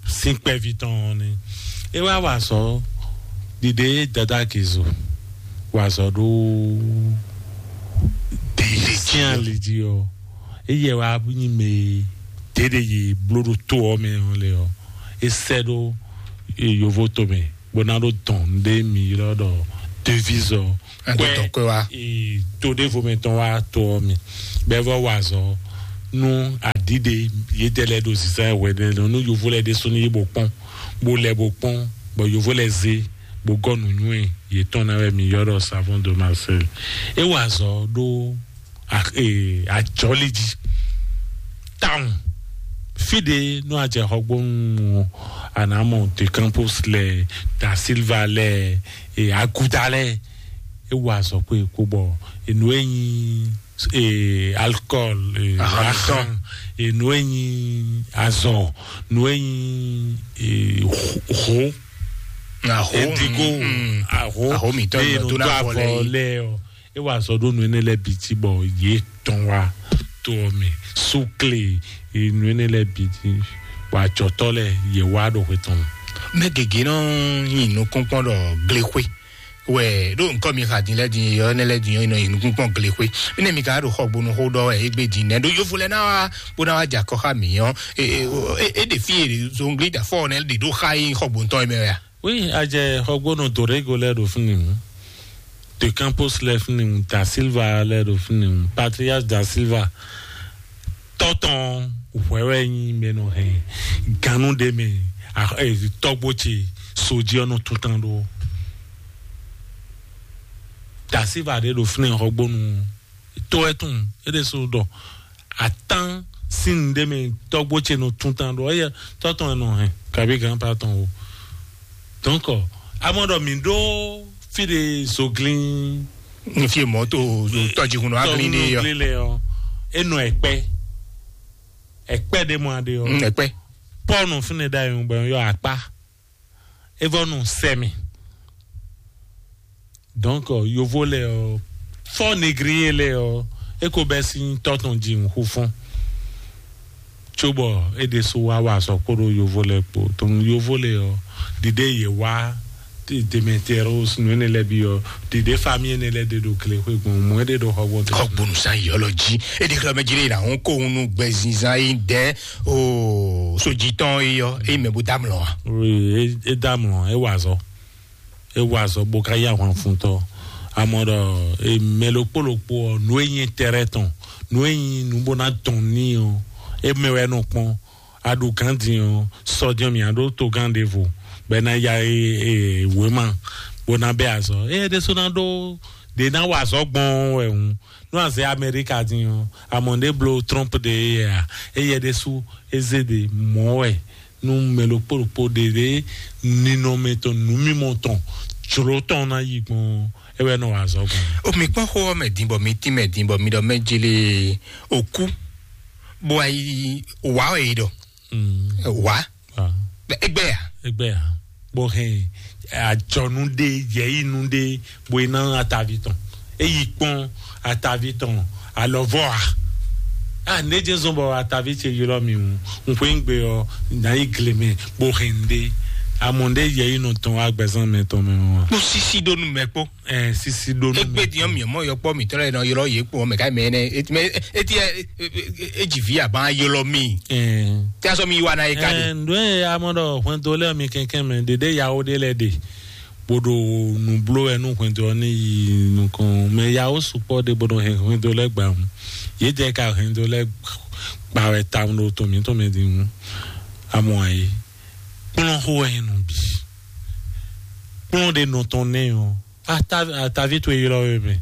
sín kpɛví tɔn ɔ́ nɛ́. É wá wa azɔ ɖiɖe dada Gezo wa azɔ ɖó ɖe sín ali jí ɔ́, éyɛ wá nyi mɛ e ɖěɖe yě bló ɖó to ɔ́ mɛ ɔ́ lɛ ɔ́, é sɛ́ ɖó yovo tomɛ bó ná ɖó dɔn ɖé mi ylɔ́ ɖɔ devise ɔ. Ado dɔn kɔe wá. To ɖěvo mɛ tɔn wá to ɔ́ mi bɛ́ vɔ wa azɔ nú aɖǐɖe yědɛɛ lɛ́ɛ ɖo zizan hwɛ ɖé nɔ nú yovo lɛ́ɛ ɖésú ní yi bó kpɔ́n bó lɛ bó kpɔ́n bɔ yovo lɛ́ɛ zé bó gɔ́ nǔnywɛ́ yětɔn ná wɛ mi ylɔ́ ɖɔ savon de Marseille. É wa azɔ ɖó ajɔli jí tawun. Fí ɖé nú a jɛ xɔgbónu ɔ́, a nǎ mɔ De Campos lɛ, Da Silva lɛ, aguda lɛ. É wa azɔ̌ kpé kpó bɔ nǔ e nyí e alcool, e Ahan, ahan, e nǔ e nyí azɔ, nǔ e nyí e ho, ho, Aho, indigo, mm, mm. Aho, Aho mǐtɔn eye nɔ nɔ dó dó avɔ lɛ́ɛ avɔ yi. Lɛ́ɛ ɔ, e wa azɔ ɖó nǔ énɛ́ lɛ́ɛ bǐ jí bɔ yě tɔn wá to ɔ́ mɛ, súkle, e nǔ énɛ́ lɛ́ɛ bǐ jí, bɔ ajɔtɔ́ lɛ́ɛ yě wá ɖo xwe tɔn mɛ. Mɛ gěgé nɔ nyi nukúnkpɔ́n ɖɔ glexwé wɛ ɖo nukɔ mi xa din lɛ din yɔ ne lɛ din yɔ nɔ yi nukun kpɔn gle xwe. Ne mi ka ɖo xɔgbonu xo ɖɔ wɛ egbe din nɛ ɖo yovo lɛ na wa bó na wa dza kɔ xa mi yɔ. E e e e ɖe fi e zongli da fɔ ne ɖe ɖo xa yi xɔgbonu tɔn mɛ ya. Oui, adze xɔgbonu Dorego lɛ ɖo fini mu, De Campos lɛ fini mu, Da Silva lɛ ɖo fini mu, Patrias Da Silva, tɔtɔn hwɛwɛ nyi mɛ nɔ hɛn ganu ɖe mɛ. Tɔgbo ce soji ɔnɔ tutan ɖo. Dasiva ɖe ɖo fínɛ xɔgbónu tó ɛ tún é ɖe so ɖɔ atán sín ɖe mɛ. Tɔgbo ce nɔ tutan ɖo eye tɔtɔn ɛ nɔ hɛn kabi gan pa tɔn o. Donc amɔ ɖɔ mi ɖo fi ɖe zoglin N fi mɔ to tɔjihun nɔ aglin ne yɔ. Lɛ ɔ, enɔ ɛkpɛ, ɛkpɛ ɖe mɔ aɖe ɔ. Mm, ɛkpɛ. Pɔnu fúnɛ da yun bɔ yɔ akpa. Evɔ nu sɛmi. Donc yovo lɛ ɔ, fɔ negriye lɛ ɔ, eko bɛ sin tɔtɔn ji ŋu xu fún. Cóbɔ é ɖésú wá wa azɔ̌ kpódó yovo lɛ́ɛ kpó. Tɔn yovo lɛ́ɛ ɔ́, ɖiɖe yě wá Demetrius nú énɛ́ lɛ́ɛ bǐ ɔ́, ɖiɖe fami énɛ́ lɛ́ɛ ɖe ɖo glexwé gbɔn mɔ̌ é ɖe ɖo xɔgbɔn. Xɔgbonu san yi ɔlɔ jí. É ɖe xlɔ mɛ jí ɖe na hún kó hun nú gbɛzinzan yi dɛ o sojitɔn yi ɔ, é mɛ bó damlɔ a. Oui, é damlɔ, é wa azɔ̌. É wa azɔ̌ bó ká yí ahwan fun tɔ́. Amɔ ɖɔ mɛ ɖokpó ɖokpó ɔ́, nǔ e nyí tɛrɛ tɔn, nǔ e nyí nǔ bó ná dɔn ní ɔ́, é mɛ wɛ nɔ kpɔ́n. A ɖo gǎn din ɔ́, sɔjɔ́ mì a ɖó togán ɖěvo, bɔ é ná ya wěma, bó ná bɛ́ azɔ̌. Éyɛ́ ɖésú ná ɖó ɖě ná wa azɔ̌ gbɔn wɛ hǔn. Nú a zɛ Amɛríka din ɔ́, a mɔ ɖě bló Trump ɖe éyɛ́ a? Éyɛ́ ɖésú é zé ɖě mɔ̌ wɛ. Nú mɛ ɖokpó ɖokpó ɖe ɖě ninɔmɛ tɔn, nǔmimɔ tɔn, jlǒ tɔn ná yi gbɔn, é wɛ nɔ wa azɔ̌ gbɔn. O mi kpɔ́n xó ɔ́ mɛ din bɔ mi tín mɛ din bɔ mi ɖɔ mɛ jele òkú bó wá yi wá ɔ yi ɖɔ wá. Egbɛ ya. Egbɛ ya. Bó hɛn àjọnu ɖé, yɛyinu ɖé, bó yi ná atavi tɔn. Eyi kpɔn atavi tɔn alɔvɔ a. A ne jɛ zɔn bɔ atavi ce ylɔ mi ŋu. Ŋxwe ŋgbe ɔ, na yi gle mɛ bó hɛn ɖé. Amɔ ɖé yɛyinu tɔn agbɛzan mɛ tɔn mɛ ɔ. Kpó sisi ɖó nu mɛ kpó. Ɛ sisi ɖó nu. Egbe diɔ mi mɔ yɔ kpɔ mi tɔlɛ nɔ ylɔ ye kpɔ mɛ ka mɛ ne eti mɛ eti ɛ edzi vi aban ylɔ mi. Ɛ. Tí a sɔ mi wa na ye ka de. Ɛ ndo ye amɔ ɖɔ hwɛndo lɛ mi kɛnkɛn mɛ ɖeɖe yawo ɖe lɛ ɖe. Bó ɖo nǔbló wɛ nú hwɛndo ɔ́ ní yi nukɔn mɛ yawo sukpɔ ɖe bó ɖo hɛn hwɛndo lɛ gba ŋu. Yě jɛ ka hwɛndo lɛ gba wɛ tawun ɖo to mǐtɔn mɛ din ŋu. Amɔ ayi kplɔn xó wɛ nɔ bi. Kplɔn ɖe nɔ tɔn nɛ ɔ. Atavi towe ylɔ we mɛ.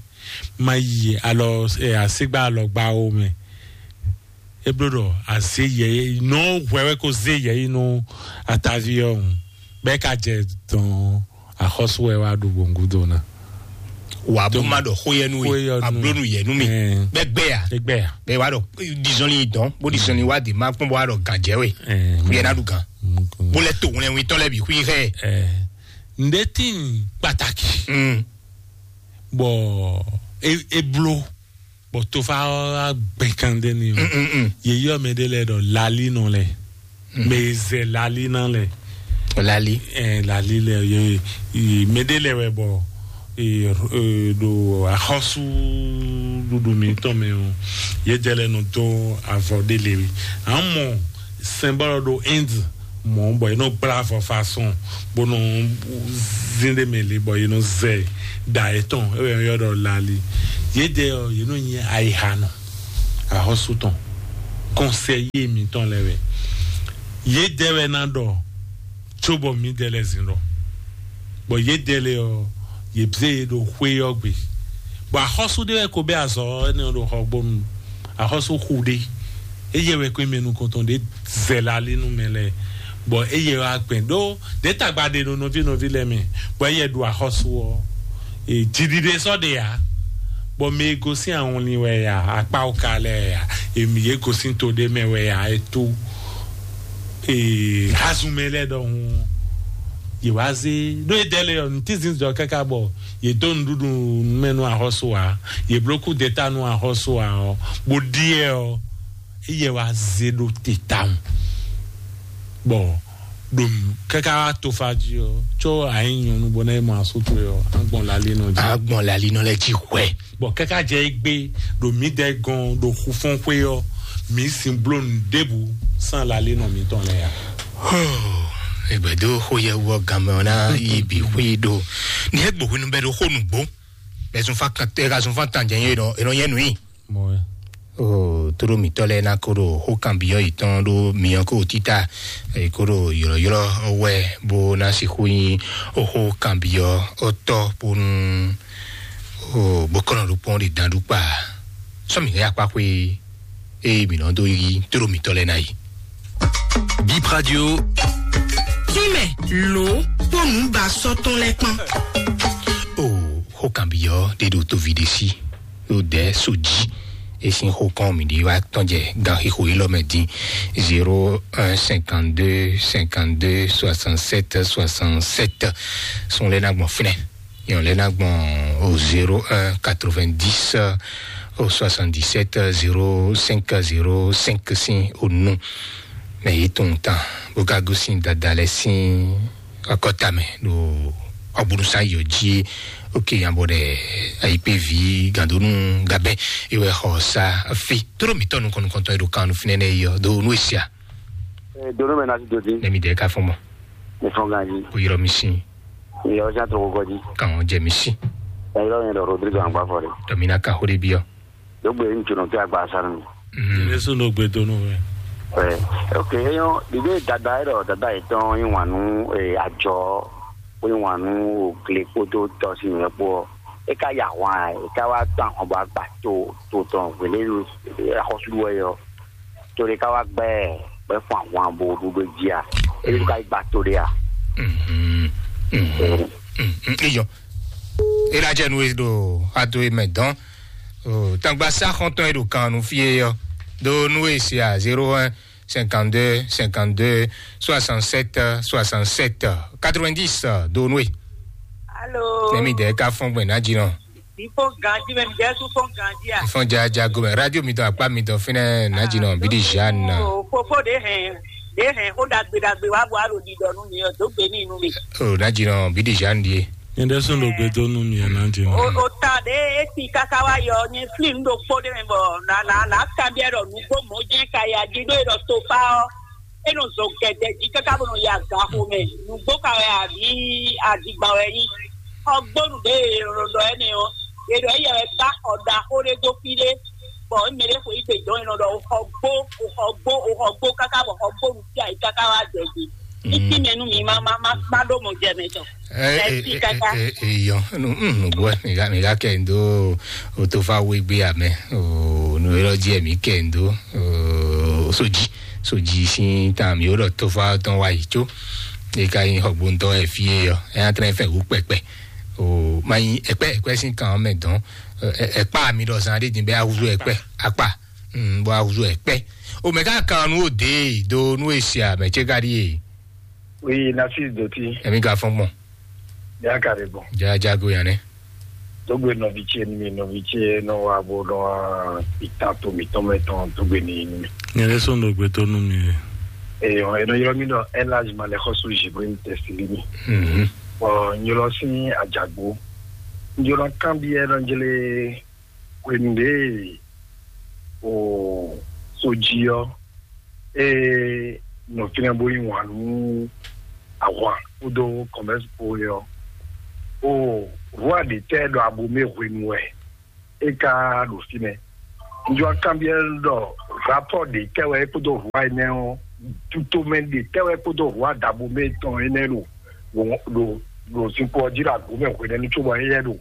Ma yi alɔ asigba alɔgba wo mɛ. E bló ɖɔ azé yɛyɛ nɔ hwɛ wɛ ko zé yɛyi nú atavi ɔ́ ŋu. Bɛ́ ka jɛ dɔn axɔ́sú wɛ wá ɖu gbɔngudo ná. Wà bó má ɖɔ xó yɛ nú we, ablónú yɛ nú mi. Bɛ́ gbɛ ya. Egbɛ ya. Bɛ́ wá ɖɔ dizɔnli dɔn bó dizɔnli wá di má kpɔn bó wá ɖɔ gànjɛ we. Xú yɛ ná ɖu gàn. Bó lɛ to wlɛnwin tɔn lɛ bì xú yi xɛ. Ǹdɛ tín pàtàkì. Bɔ e e bló bɔ tofa ɔ́ gbɛn kan ɖé ni o. Yeyɔ mɛ ɖé lɛ ɖɔ lali nɔ lɛ. Mɛ zɛ lali na lɛ. Lali. Ɛ lali lɛ ye ye mɛ ɖé lɛ wɛ bɔ ee ee ɖo axɔsu ɖuɖu mi tɔn mɛ o. Ye jɛ lɛ nɔ dó avɔ ɖé le wi. Amɔ sɛnbɔlɔ ɖo Inde mɔ bɔ yě nɔ gbla avɔ façon bó nɔ zin ɖe mɛ le bɔ yě nɔ zɛ da yětɔn ewɛ yɔ ɖɔ lali. Yě dɛ ɔ yě nɔ nyi ayiha nɔ axɔsu tɔn kɔnsɛyi mǐtɔn lɛ wɛ. Yě dɛ wɛ ná ɖɔ tso bɔ mí dɛ lɛ zin ɖɔ bɔ yě dɛ lɛ ɔ yě bzé yě ɖo xwé ɔ́ gbe. Bɔ axɔsu ɖé wɛ ko bɛ azɔ ɛnɛ ɔ ɖo xɔ gbɔnu axɔsu xu ɖé. Eye wɛ ko mɛ nukɔntɔn ɖé zɛ la ali nu mɛ lɛ bɔ eye wa gbɛn ɖó ɖé tagba ɖe ɖo nɔvi nɔvi lɛ mɛ bɔ eye ɖu axɔsu ɔ. Jiɖiɖe sɔ ɖe ya. Bɔ mɛ e gosín awɔnlin wɛ ya, akpá oka lɛ́ɛ ya, èmi yě gosín to ɖé mɛ wɛ ya, é tó ee hazunmɛ lɛ́ɛ ɖɔhun yě wá zé ɖó é dɛ́ lɛ ɔ́, nǔtínzin jɔ káká bɔ yě dó nǔɖuɖu mɛ nú axɔ́sú ǎ, yě bló kú deta nú axɔ́sú ǎ ɔ́, bó ɖíe ɔ́, éyɛ wá zé ɖó te tawun. Bɔ ɖo káká wá tofa jí ɔ́, có a nyí nyɔ̌nu bɔ ná yi mɔ asú towe ɔ́, a gbɔn lalinɔ jí. A gbɔn lalinɔ lɛ jí hwɛ. Bɔ káká jɛ égbé ɖo mǐdɛɛ gɔn ɖo xufɔ́nxwé ɔ́, mǐ sin bló nǔɖébǔ sín lalinɔ mǐtɔn lɛ́ɛ ǎ. Hoo, egbɛ̌ dó xó yɛ wú ɔ́ ganmɛ ɔ́ ná yi bǐ xwí ɖo. Ní é gbo hwenu bɛ́ ɖo xó nǔgbó. Bɛ́ zunfán kan tɛ ka zunfán tán jɛ nyɛ ɖɔ è nɔ nyɛ nǔ i. Mɔ ɛ. O tóɖó mǐtɔn lɛ́ɛ ná kó ɖo xó kanbyɔ́ yětɔn ɖó myɔ kó títá, è kó ɖo ylɔ̌ylɔ́ wɛ bó ná sixú nyí xó kanbyɔ́ ɔ́ tɔ́ bónú o bó kɔn nɔ ɖokpɔ́n ɖe dan ɖó kpa. Sɔ́ mǐ hɛn akpá xwé ée mǐ nɔ dó yí tóɖó mǐtɔn lɛ́ɛ ná yi. Bip Radio. Tínmɛ lǒ kpó nǔ ba sɔ́ tɔn lɛ́ɛ kpán. O xó kanbyɔ́ ɖé ɖo tóvi ɖé sí. Ɖo dɛ̌ so jí. E sín xó kɔn mǐ ɖi wá tɔn jɛ gan xixo élɔ́ mɛ dín. Zéro un cinquante-deux cinquante-deux soixante-sept soixante-sept. Sun lɛ́ɛ ná gbɔn fínɛ́. Nyɔ̌ lɛ́ɛ ná gbɔn o zéro un quatre-vingt-dix o soixante-dix-sept zéro cinq zéro cinq sín o nu. Mɛ yě tunwun tán bó ka gosín dada lɛ́ɛ sín akɔta mɛ ɖo ɔgbónúsá yɔ jí. Oke yan bɔ ɖɛ ayikpévi gandonu gabɛ ewɛ xɔ sa fi tóɖó mǐtɔn nukɔn nukɔntɔn e ɖo kan nu fínɛ́ nɛ yɔ do nu esia. Donu mɛ nasi dodi. Ne mi dɛ ka fɔn mɔ. Ne fɔn ganji. Ko yɔrɔ mi sin. Yɔrɔ sia tɔgɔ gɔji. Kan jɛ mi sin. Yɔrɔ yẹn dɔ Rodrigo Angbafɔ de. Dɔ mi na ka xo de bi ɔ. Dogbe n tunu te agba sanu. Yesu no gbe donu wɛ. Ɛ, ok, eyɔn ɖiɖe dada yɛ dɔ dada yɛ tɔn yi wanu, ɛ, ajɔ ko yi wanu o gle kpodo tɔsi yɛ kpɔ. E ka ya hwan e ka wa tɔn ahɔn bɔ agba to to tɔn wele axɔsu wɛ yɔ. To ɖe ka wa gbɛ gbɛ fún ahwan bo ɖu ɖo jí a? E ka yi gba to ɖe a? Mhm. Mhm. Mhm. Iyɔ. E la jɛ nu e ɖo ado e mɛ dɔn. O tangba sa xɔntɔn e ɖo kan nu fie yɔ. Do nu e se a zéro un cinquante-deux cinquante-deux soixante-sept soixante-sept quatre-vingt-dix do nu e. Alo. Nɛmi dɛ ka fɔn gbɛ na jinɔ. Ifo ganji mɛ mi jɛ su fɔn ganji a. Ifɔn ja ja go mɛ radio mi dɔn akpa mi dɔn finɛ na jinɔ bi di Jeanne. O fofo de hɛn de hɛn o dagbe dagbe wa bɔ alo di dɔ nu mi o do gbe mi nu mi. O na jinɔ bi di Jeanne die. Nyɛ ɖe sɔn ɖo gbe dó nú mi ɛ na jinɔ. O o ta de e ti kaka wa yɔ nyɛ fli nu ɖo kpo de mɛ bɔ na na na kanbiɛ ɖɔ nugbo mɔ jɛ ka ya di ɖo e ɖɔ tofa ɔ. E nɔ zɔ gɛdɛ jí káká bó nɔ yi aga xo mɛ. Nǔgbó ka wɛ àbí àdìgbà wɛ nyí? Xɔgbónu ɖé e nɔ ɖɔ ɛnɛ ɔ́, e ɖɔ éyɛ wɛ gbá xɔ ɖaxó ɖé dó fí ɖé, bɔ mɛ ɖé xo yí gbe dɔn e nɔ ɖɔ xɔgbó, xɔgbó, xɔgbó káká bɔ xɔgbónu fí ayǐ káká wá jɛ gbe. Títí mɛ nú mi má má má má ɖó mɔ jɛ mɛ tɔ. Eyɔ nugbo mi ga mi ga kɛ ndo o to fa we gbe amɛ o nu yɔrɔ ji mi kɛ ndo o soji soji sin tan mi o lɔ to fa tɔn wa yi tso e ka yin xɔgbóntɔ ɛ fie yɔ ɛ atrɛ fɛ wu kpɛkpɛ o ma yin ɛkpɛ ɛkpɛ sin kan mɛ dɔn ɛkpa mi dɔ zan de din bɛ awuzu ɛkpɛ akpa bɔ awuzu ɛkpɛ o mɛ ka kan nu o de do nu e sia mɛ tse ka di ye. Oui, Narcisse Doti. Emi ka fɔn gbɔn. Ya ka de gbɔn. Ja ja go yanɛ. Dogbe nɔvi ce ni mi nɔvi ce nɔ wa bo nɔ ita to mi tɔn mɛ tɔn dogbe ni ni mi. Nyɛ ɖe sɔn dogbe to nu mi. Eyo, eno yɔrɔ mi nɔ elage ma le xɔsu jibrin tɛsili mi. Mhm. Ɔ nyɔlɔ sin ajagbo. Nyɔlɔ kan bi ɛ nɔ jele hwenu ɖe o soji ɔ e nɔ fínɛ́ bó yí wǎn nú ahwan kpódó kɔmɛ́si kpó é ɔ́, o rwa ɖě tɛ́ ɖɔ abomɛ hwenu wɛ é ka ɖo fínɛ́. Njɔ kanbyɔ́ ɖɔ rapɔ́ ɖě tɛ́ wɛ é kpódó rwa énɛ́ ɔ́, tutomɛ ɖě tɛ́ wɛ é kpódó rwa ɖabomɛ tɔn énɛ́ ɖo ɖo ɖo zinkpo ɔ́ jí ɖo abomɛ hwenɛ́nu cóbɔ éyɛ́ ɖo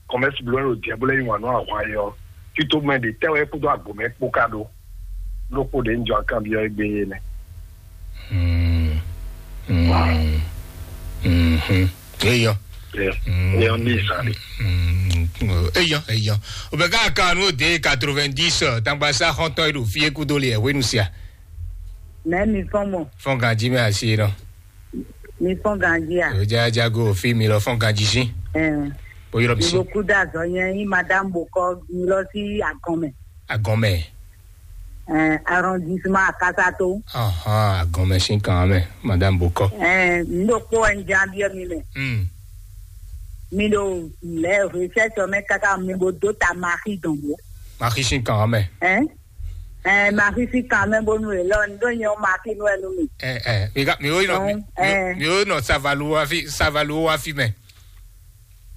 kɔmɛsi bló ɖo diɛ bó lɛ yí wǎn nú ahwan é ɔ́, tito mɛ ɖě tɛ́ wɛ é kpódó agbǒmɛ kpó ká ɖó? Lókpó ɖě un jɔ akanbyɔ́ égbé é nɛ́. Eyɔ. Eyɔ ní ìsàlẹ̀. Eyɔ, eyɔ. O bɛ ká kan nu de quatre-vingt-dix, tangba sa xɔntɔ e ɖo fie kudo le hwenu sia. Mɛ mi fɔn mɔ. Fɔn ganji mɛ asi nɔ. Mi fɔn ganji a? O ja jago fi mi lɔ fɔn ganji si. Ɛɛ. O yɔrɔ mi si. Iboku da zɔ nyɛ yi madame bokɔ mi lɔ si agɔn mɛ. Agɔn mɛ. Ɛɛ, arrondissement Akasato. Ahan, agɔn mɛ si kan mɛ, madame bokɔ. Ɛɛ, n ɖo kpó wɛ n jan biɔ mi mɛ. Hmm. Mi ɖo lɛ recherche mɛ kaka mi bo do ta maxi dɔn bo. Maxi si kan mɛ. Ɛɛ, ɛɛ, maxi si kan mɛ bonu e lɔ n ɖo nyɛ maxi nu ɛnu mi. Ɛɛ, ɛɛ, mi ka mi o yi nɔ mi, mi, mi o yi nɔ savalu wa fi savalu wa fi mɛ.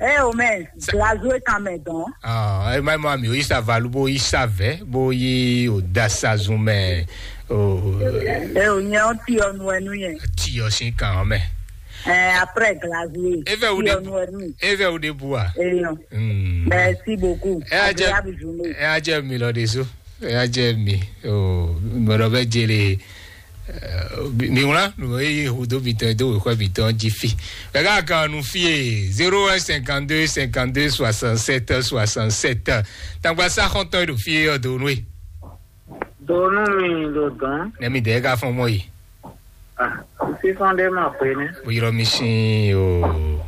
Ɛ o mɛ, glazo e kan mɛ dɔn. Ah, e ma ma mi o yi savalu bo yi savɛ bo yi o da sazun mɛ. O. Ɛ o nyɛ o ti ɔ nu ɛnu yɛ. Ti ɔ si kan mɛ. Ɛ, après glazo e. Eve o de. Ti ɔ nu ɛnu. Eve o de bua. Eyɔ. Hmm. Merci beaucoup. Ɛ a jɛ. Agréable journée. Ɛ a jɛ mi lɔ de so. Ɛ a jɛ mi. O mɔdɔ bɛ jele. Mi wlán nǔ e yí hudó mitɔn e dó wěxɔ mitɔn jí fi. Ɛ ká kan nu fie zéro un cinquante-deux cinquante-deux soixante-sept soixante-sept. Tangba sa xɔntɔn e ɖo fie ɔ do nú e. Do nú mi ɖo dɔn. Nɛ mi dɛ ká fɔn mɔ yi. Ah, sísɔn ɖé ma pé ní. Bó yrɔ mi sin o.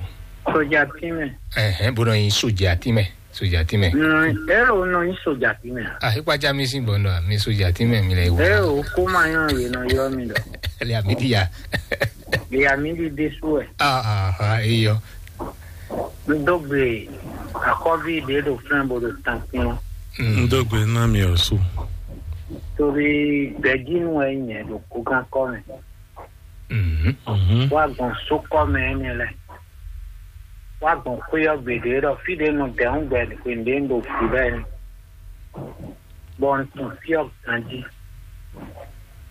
Sójà tí mɛ. Ɛhɛn, bó nɔ yin sójà tí mɛ. Sójà tí mɛ. Ɛ o nɔ yin sójà tí mɛ. Ah, ikpa ja mi sin bɔ nɔ mi sójà tí mɛ mi lɛ wo. Ɛ o kó ma yàn yé nɔ yọ mi dɔ. Lè àmì di ya. Lè àmì di dé sú ɛ. Ah ah ah, eyɔ. N dó gbe akɔvi ɖe ɖo fɛn bo ɖo tan kpɔn. N dó gbe ná mi ɔ sú. Torí gbɛjínú ɛ nyɛ ɖo kókan kɔ mɛ. Mhm. Wá gbɔn sókɔ mɛ ɛnɛ lɛ. Wá gbɔn xwé ɔ gbeɖé ɖɔ fí ɖé nɔ dɛ̌n gbɛ xwe ɖé ɖo fí lɛ. Bɔ un tunwun fí ɔ ganjí.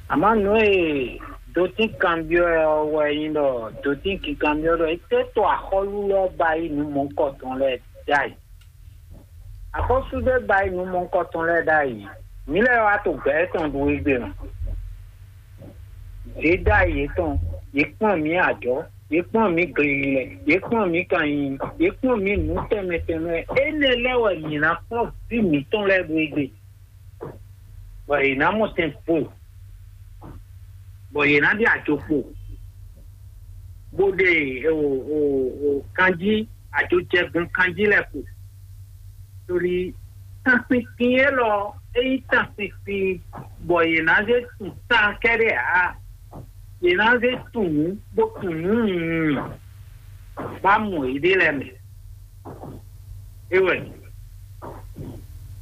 Àmọ́ nǔ e dotín kanbyɔ́ ɛ ɔ́ wɛ nyí ɖɔ dotín kinkanbyɔ́ ɖɔ étɛ́ to axɔ́lú lɛ́ɛ ba yí nǔ mɔ̌hunkɔtɔn lɛ́ɛ ɖ'ayǐ. Axɔ́sú ɖé ba yí nǔ mɔ̌hunkɔtɔn lɛ́ɛ ɖ'ayǐ. Mǐ lɛ́ɛ wá to gbɛ̌ tɔn ɖu égbé mɛ. Yě ɖ'ayǐ yětɔn, yě kplɔ́n mǐ ajɔ̌, yě kplɔ́n mǐ glililɛ, yě kplɔ́n mǐ kanyiyi, yě kplɔ́n mǐ nǔ tɛnmɛ tɛnmɛ. Énɛ́ lɛ́ɛ wɛ mǐ ná kplɔ́n vǐ mǐtɔn lɛ́ɛ ɖu égbé. Bɔ yě ná mɔ tɛn kpo, bɔ yě ná ɖi ajo kpo, bó ɖe o o o kanjí ajojɛgun kanjí lɛ́ɛ kpo. Torí tanpinpin élɔ́ é nyí tanpinpin bɔ yě ná zé tun tan kɛ́ɖɛ́ ǎ, yě ná zé tun nǔ bó tun nǔ nyunyun bá mɔ yěɖée lɛ́ɛ mɛ. É wɛ.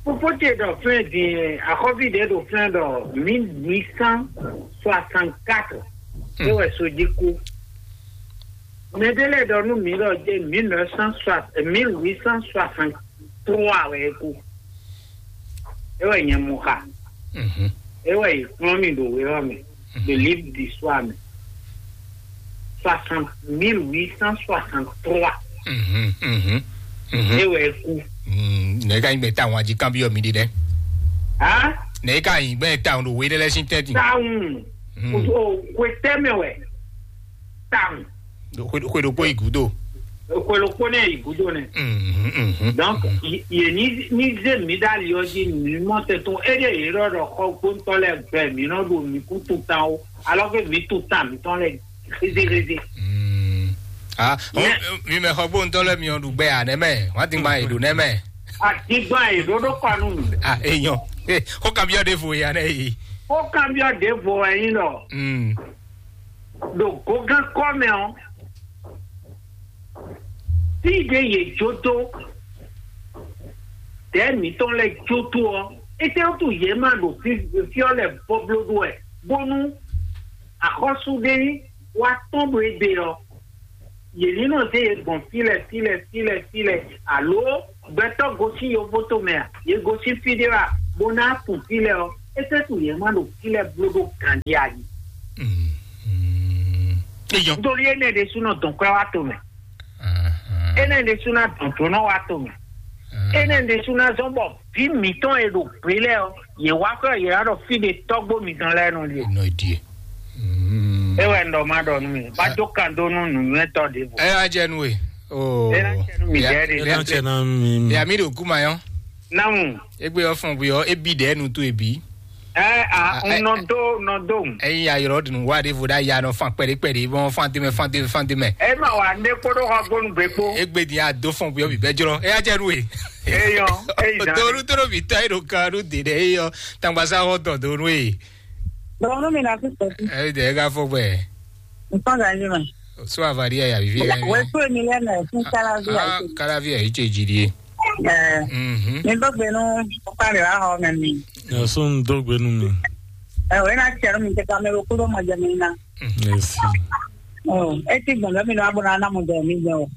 Fofó ce ɖɔ flɛ́n din axɔ́ví ɖě ɖo flɛ́n ɖɔ mille huit cent soixante-quatre. É wɛ so jí kú. Mɛ ɖé lɛ́ɛ ɖɔ nú mǐ ɖɔ jɛ mille neuf cent soixante, mille huit cent soixante-trois wɛ é kú. É wɛ nyɛ mɔ xa. Mhm. É wɛ yě kplɔ́n mì ɖo wěwá mɛ, ɖo livre d'histoire mɛ. Soixante, mille huit cent soixante-trois. Mhm, mhm, mhm. É wɛ é kú. Mm, nɛ ka nyí gbɛ tawun ají kanbyɔ mi ɖi dɛ. Hã? Nɛ ka nyí gbɛ tawun ɖo wé ɖe lɛ sín tɛ́ntin. Tawun. Mm. O, o, xwe tɛ́ mɛ wɛ. Tawun. Xwe xwe ɖokpó yi gúdo. Xwe ɖokpó nɛ yi gúdo nɛ. Mhm, mhm, Donc, mhm. Yě ní ní zé mǐ ɖ'ali ɔ́ jí mǐ mɔ tɛn tɔn éɖée yě ɖɔ ɖɔ xɔ gbóntɔ́ lɛ́ɛ gbɛ mǐ nɔ ɖo mǐ kú tutan ó, alɔ́ ké mǐ tutan mǐtɔn lɛ́ɛ rézérézé. Mm. Ah, mi mɛ xɔ gbóntɔ́ lɛ́ɛ mi ɔ ɖu gbɛ à nɛmɛ, wọ́n ti gba èɖò nɛmɛ. Àdìgbà èɖò ɖó kɔnu. Ah, èèyàn. Eh, kó kan bí ọdẹ fò ya nẹ yìí. Kó kan bí ọdẹ fò ẹyin lọ. Mm. Ɖo gǒgán kɔ mɛ ɔ́, fí ɖě yě jó dó dɛ̌ mǐtɔn lɛ́ɛ jó tó ɔ́, étɛ́wútu yě ma ɖo fí fí ɔ́ lɛ́ɛ bɔbló ɖó wɛ, bónú axɔ́sú ɖé wá tɔ́n ɖo égbé ɔ́, yě ní nɔ zé yě gbɔn fí lɛ́ɛ fí lɛ́ɛ fí lɛ́ɛ fí lɛ́ɛ, alo gbɛtɔ́ gosín yovó tomɛ a, yě gosín fí ɖé wɛ a, bó ná kun fí lɛ́ɛ ɔ́, étɛ́wútu yě ma ɖo fí lɛ́ɛ bló ɖó ganjí a yi? Mm, mm. Eyɔn. Nítorí énɛ́ ɖésúnɔ dɔn kwɛ́ wá to mɛ. Ahan. Énɛ́ ɖésúnɔ dɔn dǒnɔ wá to mɛ. Ahan. Énɛ́ ɖésúnɔ zɔ́n bɔ vǐ mǐtɔn e ɖo gbě lɛ́ɛ ɔ́, yě wá xwɛ yě wá ɖɔ fí ɖe tɔ́gbó mǐtɔn lɛ́ɛ nɔ ɖie. Nɔ ɖie. Mm. É wɛ un ɖɔ ma ɖɔ nú mi. Má jó kan dó nú nǔnywɛ́tɔ́ ɖěvo. Ɛ wá jɛ nú we. Oh. Ena cɛ nú mi dɛ de. Ena cɛ na mi. Ya mi ɖo kuma yɔ. Namu. Egbe ɔfɔn gbe ɔ ebi ɖɛ nu to ebi. Ɛ a n nɔ do nɔ do. Eyi ayɔrɔ dunu wa de vo da ya nɔ fan kpɛɖe kpɛɖe bɔn fan tɛmɛ fan tɛmɛ fan tɛmɛ. E ma wa ne kpoɖo xɔ gbonu gbe kpo. Egbe di a do fɔn gbe ɔ bi bɛ jrɔ eya cɛ nu e. Eyɔ eyi zan. Donu toro bi tɔ e ɖo kan nu de ɖe eyɔ tangbasa xɔ tɔ donu e. Donu mi na fi sɛ. Ɛ de e ka fɔ gbɛ. Nǹkan gàdí mà. So àfàdí ẹ̀ yàbí fi ẹ̀. Wẹ́ pé mi lẹ́nu ẹ̀ fún Kálábí àìsè. Kálábí ẹ̀ yìí ṣe jìdí. Ẹ̀ Mhm. Mi gbọ́gbẹ́ nú ọ̀pá rẹ̀ wá họ mẹ́ mi. Yàsó ń dọ́gbẹ́ nú mi. Ẹ̀ wẹ́ náà tiẹ̀ mi tẹ́ka mi kúrò mọ̀ jẹ́ mi ná. Merci. Ọ̀ ẹ ti gbọ̀n lẹ́mi náà bọ̀ náà mọ̀ jẹ́ mi jẹ́ o.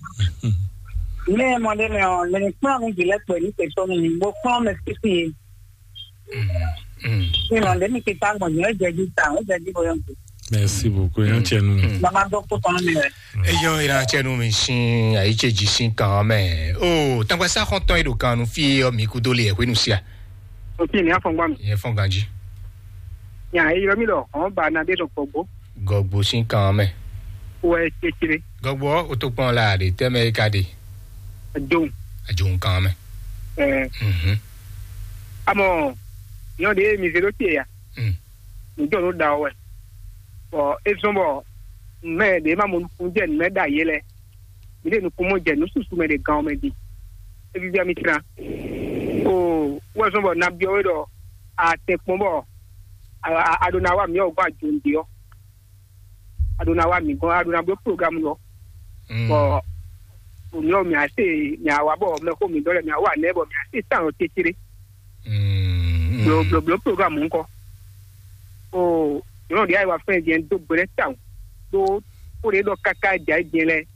Ní ẹ mọ̀ lé mi ọ̀ lẹ́ni kúrò mi jì lẹ́pẹ̀ ní tẹ̀sán mi bó kúrò mi fífi yé. Ìrànlẹ́ mi ti ta gbọ̀n yẹn ó jẹ́ jí ta ó jẹ́ jí bóyá nǹkan. Merci beaucoup, yan tiẹ̀ nù. Bàbá dọ́ kó tán mi rẹ̀. Eyɔ ira cɛ nu mi sin ayi ce ji sin kan mɛ. O tangba sa xɔntɔn e ɖo kan nu fi yɔ mi kudo le ɛhwenu sia. O ti ni afɔngba mi. Yɛ fɔn ganji. Nya eyɔ mi lɔ ɔn ba na de sɔ gbɔgbɔ. Gɔgbo sin kan mɛ. Wɛ tsetsere. Gɔgbo o to kpɔn la de tɛmɛ e ka de. Ajo. Ajo kan mɛ. Ɛɛ. Mhm. Amɔ nyɔ de mi zero tie ya. Mm. Nǔjɔnǔ ɖa wɛ. Bɔ é zɔ́n bɔ mɛ ɖě ma mɔ nukúnnú jɛ nǔ mɛ ɖa yě lɛ́ɛ. Mi ɖe nukún mɔ jɛ nǔ susu mɛ ɖe gan ɔ́ mɛ ɖi. É víví mi tlán. O wɛ zɔ́n bɔ nabyɔ́ wé ɖɔ a tɛn kpɔ́n bɔ a ɖo na wa mǐ ɔ́ gbɔn ajǒnúɖe ɔ́. A ɖo na wa mǐ gbɔn a ɖo na bló programu lɔ. Bɔ mǐ ɔ́ mǐ á se mǐ á wa bɔ mɛxó mǐ dɔ́ lɛ mǐ á wa nɛ́ bɔ mǐ á se tán ɔ́ cécéré. Blo blo blo programu ŋkɔ. O nyɔnu ɖe ayi wa fɛn jɛn dó gbe ɖe tawun ɖó kó ɖe ɖɔ káká jɛ ayi jɛn lɛ.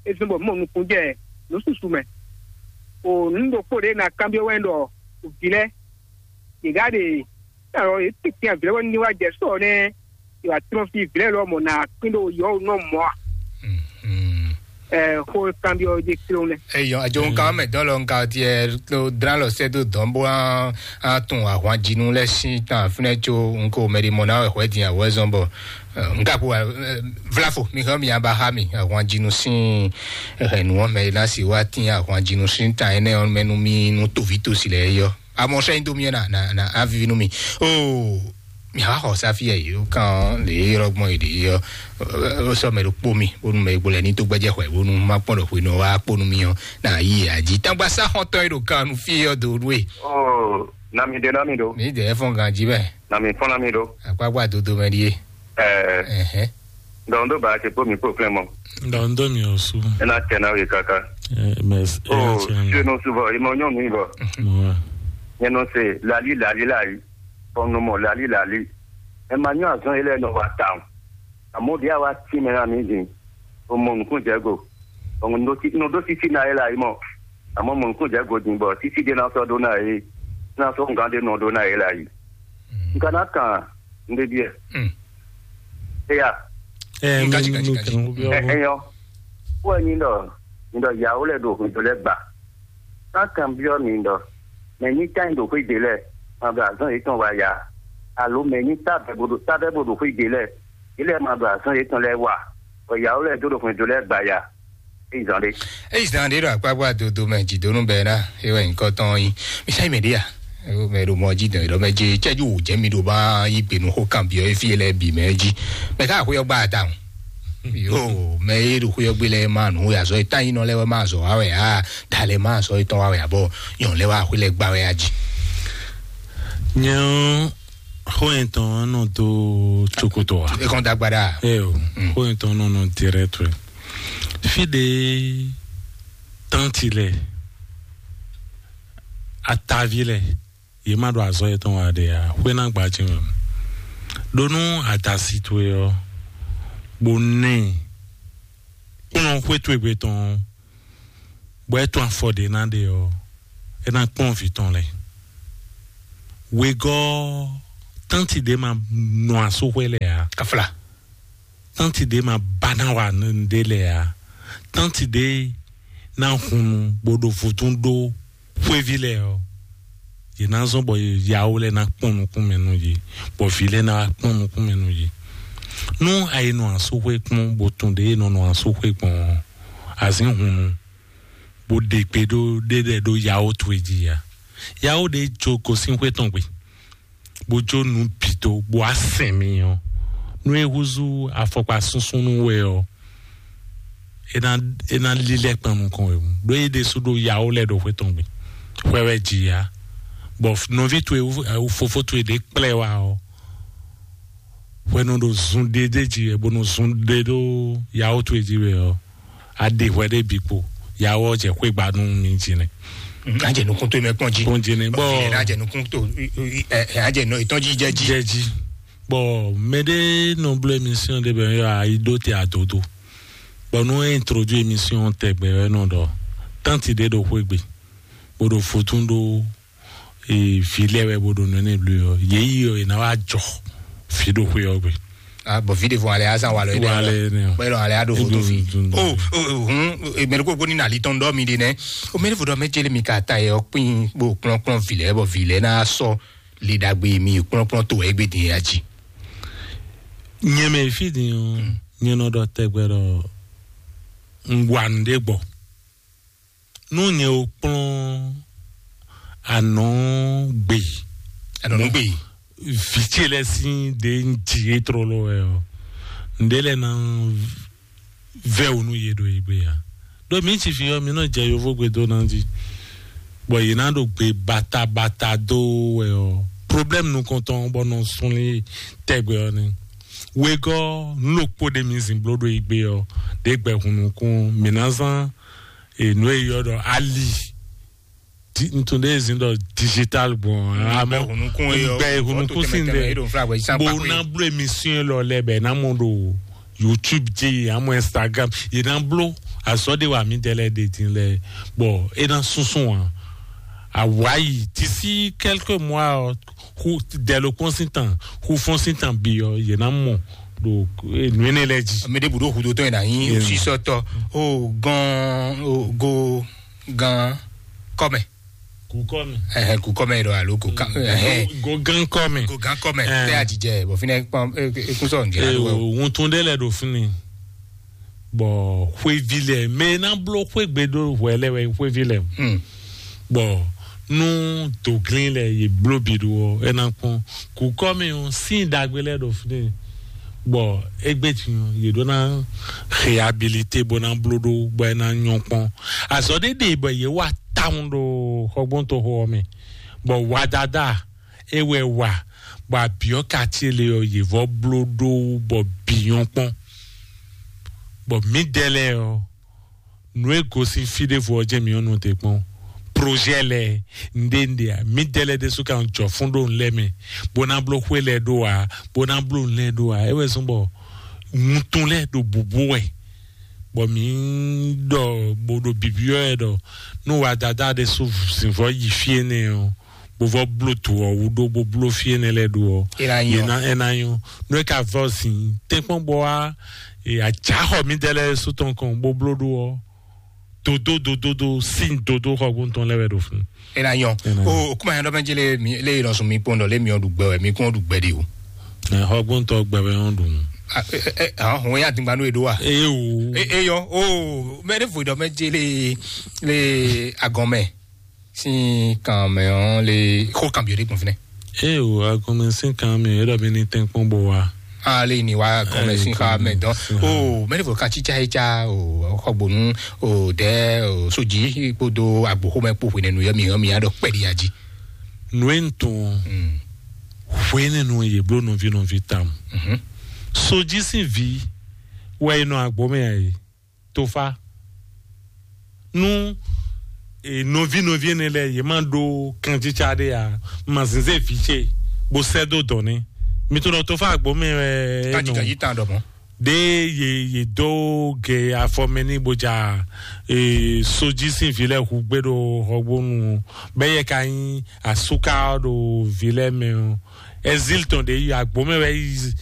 É zɔ́n bɔ mɔ nukún jɛ nǔ susu mɛ. O nǔ ɖokpó ɖe na kanbyɔ́ wɛ ɖɔ vǐ lɛ yě gá ɖe alɔ yě tɛ́ntin avǐ lɛ́ɛ wɛ ní wá jɛ sɔ nɛ́ yě wá tlɔ́n fí vǐ lɛ́ɛ lɔ mɔ nǎ kpín ɖo yɔ̌ nɔ mɔ a. Ɛ xó kanbyɔ́ jɛ kplɔ́n lɛ. Eyɔ ajo nkan mɛ dɔn lɔ nkan tiɛ to dran lɔ sɛ do dɔn bo an an tun ahwan jinu lɛ sin tan fúnɛ tso nko mɛ di mɔ na wɛ hwɛ din awɛ zɔn bɔ nka ko vlafo mi hɛn mi aba ha mi ahwan jinu sin hɛn nu wɔn mɛ na si wa tin ahwan jinu sin tan ɛnɛ wɔn mɛ nu mi nu tovi tosi lɛ yɔ. Amɔ sɛ nyi do mi na na na avivi nu mi. O mi ha xɔ safi yɛ yio kan le yɔrɔ gbɔn yi de yɔ. O sɔ mɛ ɖo kpo mi bonu mɛ gbolɛ ni to gbɛjɛ xɔ bonu ma kpɔn ɖo xwe nɔ wa kponu mi yɔ na yi aji tangba sa xɔtɔ yi ɖo kan nu fi yɔ do nu e. Oh, nami de nami do. Mi de fɔn ganji bɛ. Nami fɔn nami do. Akpakpa dodo mɛ di ye. Eh, Ɛhɛn. Donc ndo ba ti po mi po flin mo. Donc ndo mi osu. Ena tena wi kaka. Eh, mais Oh, eh, tiens. Je no subo imo nyo mi bo. Mo. Nye no se lali lali lai. Bon no mo lali lali. E ma nyo azɔn ele no wa town. Amo dia wa ti me na mi din. O mo nukun jɛ go. O mo ɖo títí ná é la yi mɔ. Àmọ́ mo nukun jɛ go din bɔ títí dé ná sɔ́ ɖó ná é ná sɔ́ ngán ɖé nɔ ɖó ná é la yi. N ka ná kan n ɖé biɛ. Éya. Ɛ Nka, mi nka, mi nka, kan nka. Ko biɔ Ɛ bo. Ɛyɔ. Wɔ nyi ɖɔ nyi ɖɔ yawo lɛ ɖo hwɛndo lɛ gba. Ná kan biɔ mi ɖɔ mɛ nyi tán ɖo xwé de lɛ ma ɖo azɔn yětɔn wa ya. Alo mɛ nyi tábɛ bo ɖo tábɛ bo ɖo xwé de lɛ. Ilé ma ɖo azɔn yětɔn lɛ wa. Bɔ yawo lɛ ɖo ɖo hwɛndo lɛ gba ya. Eyi zan ɖe. Eyi zan ɖe ɖo akpakpa dodo mɛ jidonu bɛ na ewɛ nyikɔ tɔn yi. Misa yi mɛ ɖe ya. Ewo mɛ ɖo mɔ ji dɔn ɖɔ mɛ je cɛju wò jɛ mi ɖo ba yi gbe nu xo kan biɔ efi lɛ bi mɛ ji. Mɛ ka xo yɔ gba ta o. Yo mɛ ye ɖo xo yɔ gbe lɛ ma nu ya zɔ eta yi nɔ lɛ wɛ ma zɔ wa wɛ a da lɛ ma zɔ etɔn wa wɛ abɔ yɔn lɛ wa xo lɛ gba wɛ a ji. Nyɛ ɔ xo yɛn tɔn nɔ do tsokoto wa. Ekɔn dagba ɖa. Ɛ o xo yɛn tɔn nɔ nɔ direct wɛ. Fi ɖe tánti lɛ, atavi lɛ, yě ma ɖo azɔ̌ yětɔn wa ɖe ǎ, xwé ná gbají mɛ. Ɖó nú adasi towe ɔ́, bó nɛ kplɔ́n xwé towe gbe tɔn ɔ́, bɔ é tún afɔ ɖě ná ɖe ɔ́, é ná kplɔ́n vǐ tɔn lɛ́ɛ. Wegɔ́ tánti ɖě ma nɔ asúxwé lɛ ǎ. Kafla. Tánti ɖě ma ba ná wa nǔɖé lɛ ǎ. Tánti ɖě ná hun nu bó ɖo vodún ɖó xwéví lɛ ɔ́, yě ná zɔ́n bɔ yawo lɛ́ɛ ná kpɔ́n nukún mɛ nú yě, bɔ vǐ lɛ́ɛ ná wá kpɔ́n nukún mɛ nú yě. Nú a yi nɔ asúxwé kpɔ́n bó tunwun ɖě e nɔ nɔ asúxwé gbɔn ɔ́, azǐn hunnu, bó ɖe gbe ɖó ɖé ɖɛ ɖó yawo towe jí ya. Yawo ɖé jó gosín xwé tɔn gbe, bó jó nǔ bǐ dó, bó wá sɛn mi ɔ́, nú é húzú afɔkpa súnsúnnú wɛ ɔ́, é ná é ná lílɛ́ kpan nukɔn wɛ. Ɖó é ɖésú ɖo yawo lɛ́ɛ ɖo xwé tɔn gbe, xwɛ wɛ jí ya. Bɔ nɔví towe, fofó towe ɖě kplá ɛ wá ɔ́, hwɛ nɔ ɖo zun ɖé ɖé jí wɛ, bó nɔ zun ɖé ɖó yawo towe jí wɛ ɔ́, a ɖe hwɛ ɖé bǐ kpo, yawo ɔ́ jɛ xwé gba nú mi jí nɛ. Ajɛ nukun to mɛ kpɔn jí. Kpɔn jí nɛ. Bɔ Ɛ, ajɛ nukun to ɛ, ajɛ nɔ etɔn jí jɛ jí. Jɛ jí. Bɔ mɛ ɖé nɔ bló émission ɖé bɛ yɔ ayi ɖó te adodo. Bɔ nú é introduit émission tɛgbɛ wɛ nɔ ɖɔ, tánti ɖé ɖo xwé gbe, bó ɖo fotún ɖó vi lɛ́ɛ wɛ bó ɖo nɔ énɛ́ bló ɔ́, yě yi ɔ́, è nǎ wá jɔ fí ɖo xwé ɔ́ gbe. Ah, bɔn vi ɖe fɔ alɛ azan wa lɔ yɛ Wa lɛ nɛ. Bɛ lɔ alɛ ado Edo foto fi. dundun. O o hun mɛri ko ko ni na ali tɔn dɔ mi de nɛ. O mɛri fo dɔ mɛ jeli mi ka ta yɛ ɔkpin bo kplɔn kplɔn vi lɛ bɔ vi lɛ na sɔ li dagbe mi kplɔn kplɔn to wɛ egbe din ya ji. Nyɛmɛ fí din ɔ́, nyɛ nɔ ɖɔ tɛgbɛ ɖɔ un wa nǔɖé gbɔ. Nú nyɛ o kplɔ́n anɔ̌ gbe Anɔnugbe. vǐ ce lɛ́ɛ sín ɖě un ji é tlóló wɛ ɔ́, ǹɖé lɛ́ɛ ná vɛ́ wǔ nú yě ɖo yě gbe ǎ. Ɖó mǐ ci fi ɔ́, mǐ nɔ jɛ yovógbe dó ná jí, bɔ yě ná ɖo gbe batabata dó wɛ ɔ́, problème nukɔntɔn bɔ nɔ sunlin tɛgbɛ ɔ́ ni. Wegɔ́ nǔ ɖokpó ɖé mi zin bló ɖo yí gbe ɔ́, ɖě gbɛ hun nukún mǐ ná zán e nǔ e yɔ ɖɔ ali. Di- ntun ɖe zin ɖɔ digital gbɔn amɔ Gbɛ hun nukún e yɔ. Gbɛ hun nukún sin ɖe. Bo na bló émission lɔ lɛ bɛ na mɔ ɖo YouTube dzi amɔ Instagram, yě na bló azɔ de wa mi dɛ lɛ de din lɛ, bɔ e na sunsun wa awa yi d'ici quelques mois ɔ, hu dɛ lo kpɔn sin tan, hu fɔn sin tan bi ɔ, yě na mɔ ɖo nue ne lɛ dzi. Mɛ ɖe bu ɖo hudo tɔn yina yin sisɔtɔ o gɔn o go gan kɔmɛ. Kukɔ mi. Ɛhɛn, kukɔ mɛ ɖɔ alo go gan ɛhɛn. Go gan kɔ mi. Go gan kɔ mɛ. Tɛ ajijɛ bɔ finɛ kpɔn ekun sɔ nge Ee, alo wɛ. Ohun tún ɖé lɛ ɖo fún ni. Bɔ xwévi lɛ mɛ ná bló xwégbe ɖó hwɛ lɛ wɛ xwévi lɛ. Hmm. Bɔ nú doglin lɛ yě bló bi ɖo ɔ, é ná kpɔn kukɔ mi ɔ sín dagbe lɛ ɖo fún ni. Bɔ égbé tún yě ɖó ná réhabilité bó ná bló ɖó bɔ é ná nyɔ kpɔn. Azɔ ɖé ɖe bɔ yě wá tawun ɖo xɔgbɔntɔxo ɔ́ mɛ, bɔ wadada é wɛ wa, bɔ abiɔ kati le ɔ yě vɔ bló ɖó bɔ biyɔn kpɔn. Bɔ mǐdɛɛ lɛ ɔ, nǔ e gosín fí ɖěvo ɔ́ jẹ́ mǐ ɔ́ nɔ te kpɔn. Projet lɛ nɖénɖé a mǐdɛɛ lɛ ɖésú kan jɔ fún ɖó nǔ lɛ́ɛ mɛ, bó ná bló xwé lɛ ɖó a, bó ná bló nǔ lɛ́ɛ ɖó a, é wɛ zɔ́n bɔ wuntun lɛ ɖo bǔbú wɛ. Bɔ mǐ ɖɔ bó ɖo bibyɔ́ ɛ ɖɔ nú wadada ɖé sú zǐnvɔ́ yi fí énɛ́ ɔ́, bó vɔ́ bló to ɔ́ wú ɖó bó bló fí énɛ́ lɛ́ɛ ɖó ɔ́, É ná nyɔ́. É ná nyɔ́. Nú é ka vɔ́ zǐn tɛ́nkpɔ́n bɔ wá, ajáxɔ mǐdɛɛ lɛ́ɛ sú tɔn kɔn bó bló ɖó ɔ́, dodó dodódó sín dodó xɔgbóntɔn lɛ́ɛ wɛ ɖo fún. É ná nyɔ́. É ná nyɔ́. O kuma yẹn dɔ mɛ jele mi le yìí lọ sùn mi kpɔn dɔ lé mi ɔdun gbɛ wɛ mi kún ɔdun gbɛ de o. Xɔgbóntɔ gbɛ wɛ ɔ́ ɖun. Ahɔn ya dingba n'o ye ɖo wa. Eye o. Eyɔ o mɛ ne vo dɔ mɛ jele le agɔn mɛ sin kan mɛ ɔn le xo kan bi o de gbɔn finɛ. Eye o, agɔnmɛ sín kan mi, é ɖɔ mi ní tɛ́nkpɔ́n bó wa. Ale ni wa gɔmɛ sin xa mɛ dɔn. O mɛ ne vo kan tsitsa yi tsa o xɔgbonu o dɛ o soji kpodo agboxomɛ kpo hwenɛnu yɔ mi yɔ mi ya dɔ kpɛdi ya ji. Nú é ń tun ɔ́, hwenɛnu yě bló nɔví nɔví tam. Sojí sín vǐ wɛ é nɔ agbó mɛ ɛ, tofa. Nú e nɔví nɔví énɛ́ lɛ́ɛ yě má ɖó kanjítsa ɖé a, ma zǐnzé vǐ ce bó sɛ́ dó dɔ̌n ní. Mi to nɔ tofa agbó mɛ wɛ é Kanji nɔ. Kanji tan dɔ mɔ. Ɖe ye ye dó ge afɔ mɛ ní bó ja e sojí sín vǐ lɛ́ɛ hu gbé ɖo xɔgbónu bɛ yɛ ka nyí asúká ɖo vǐ lɛ́ɛ mɛ ɔ. Ɛzíl tɔn ɖe yi agbó mɛ wɛ yi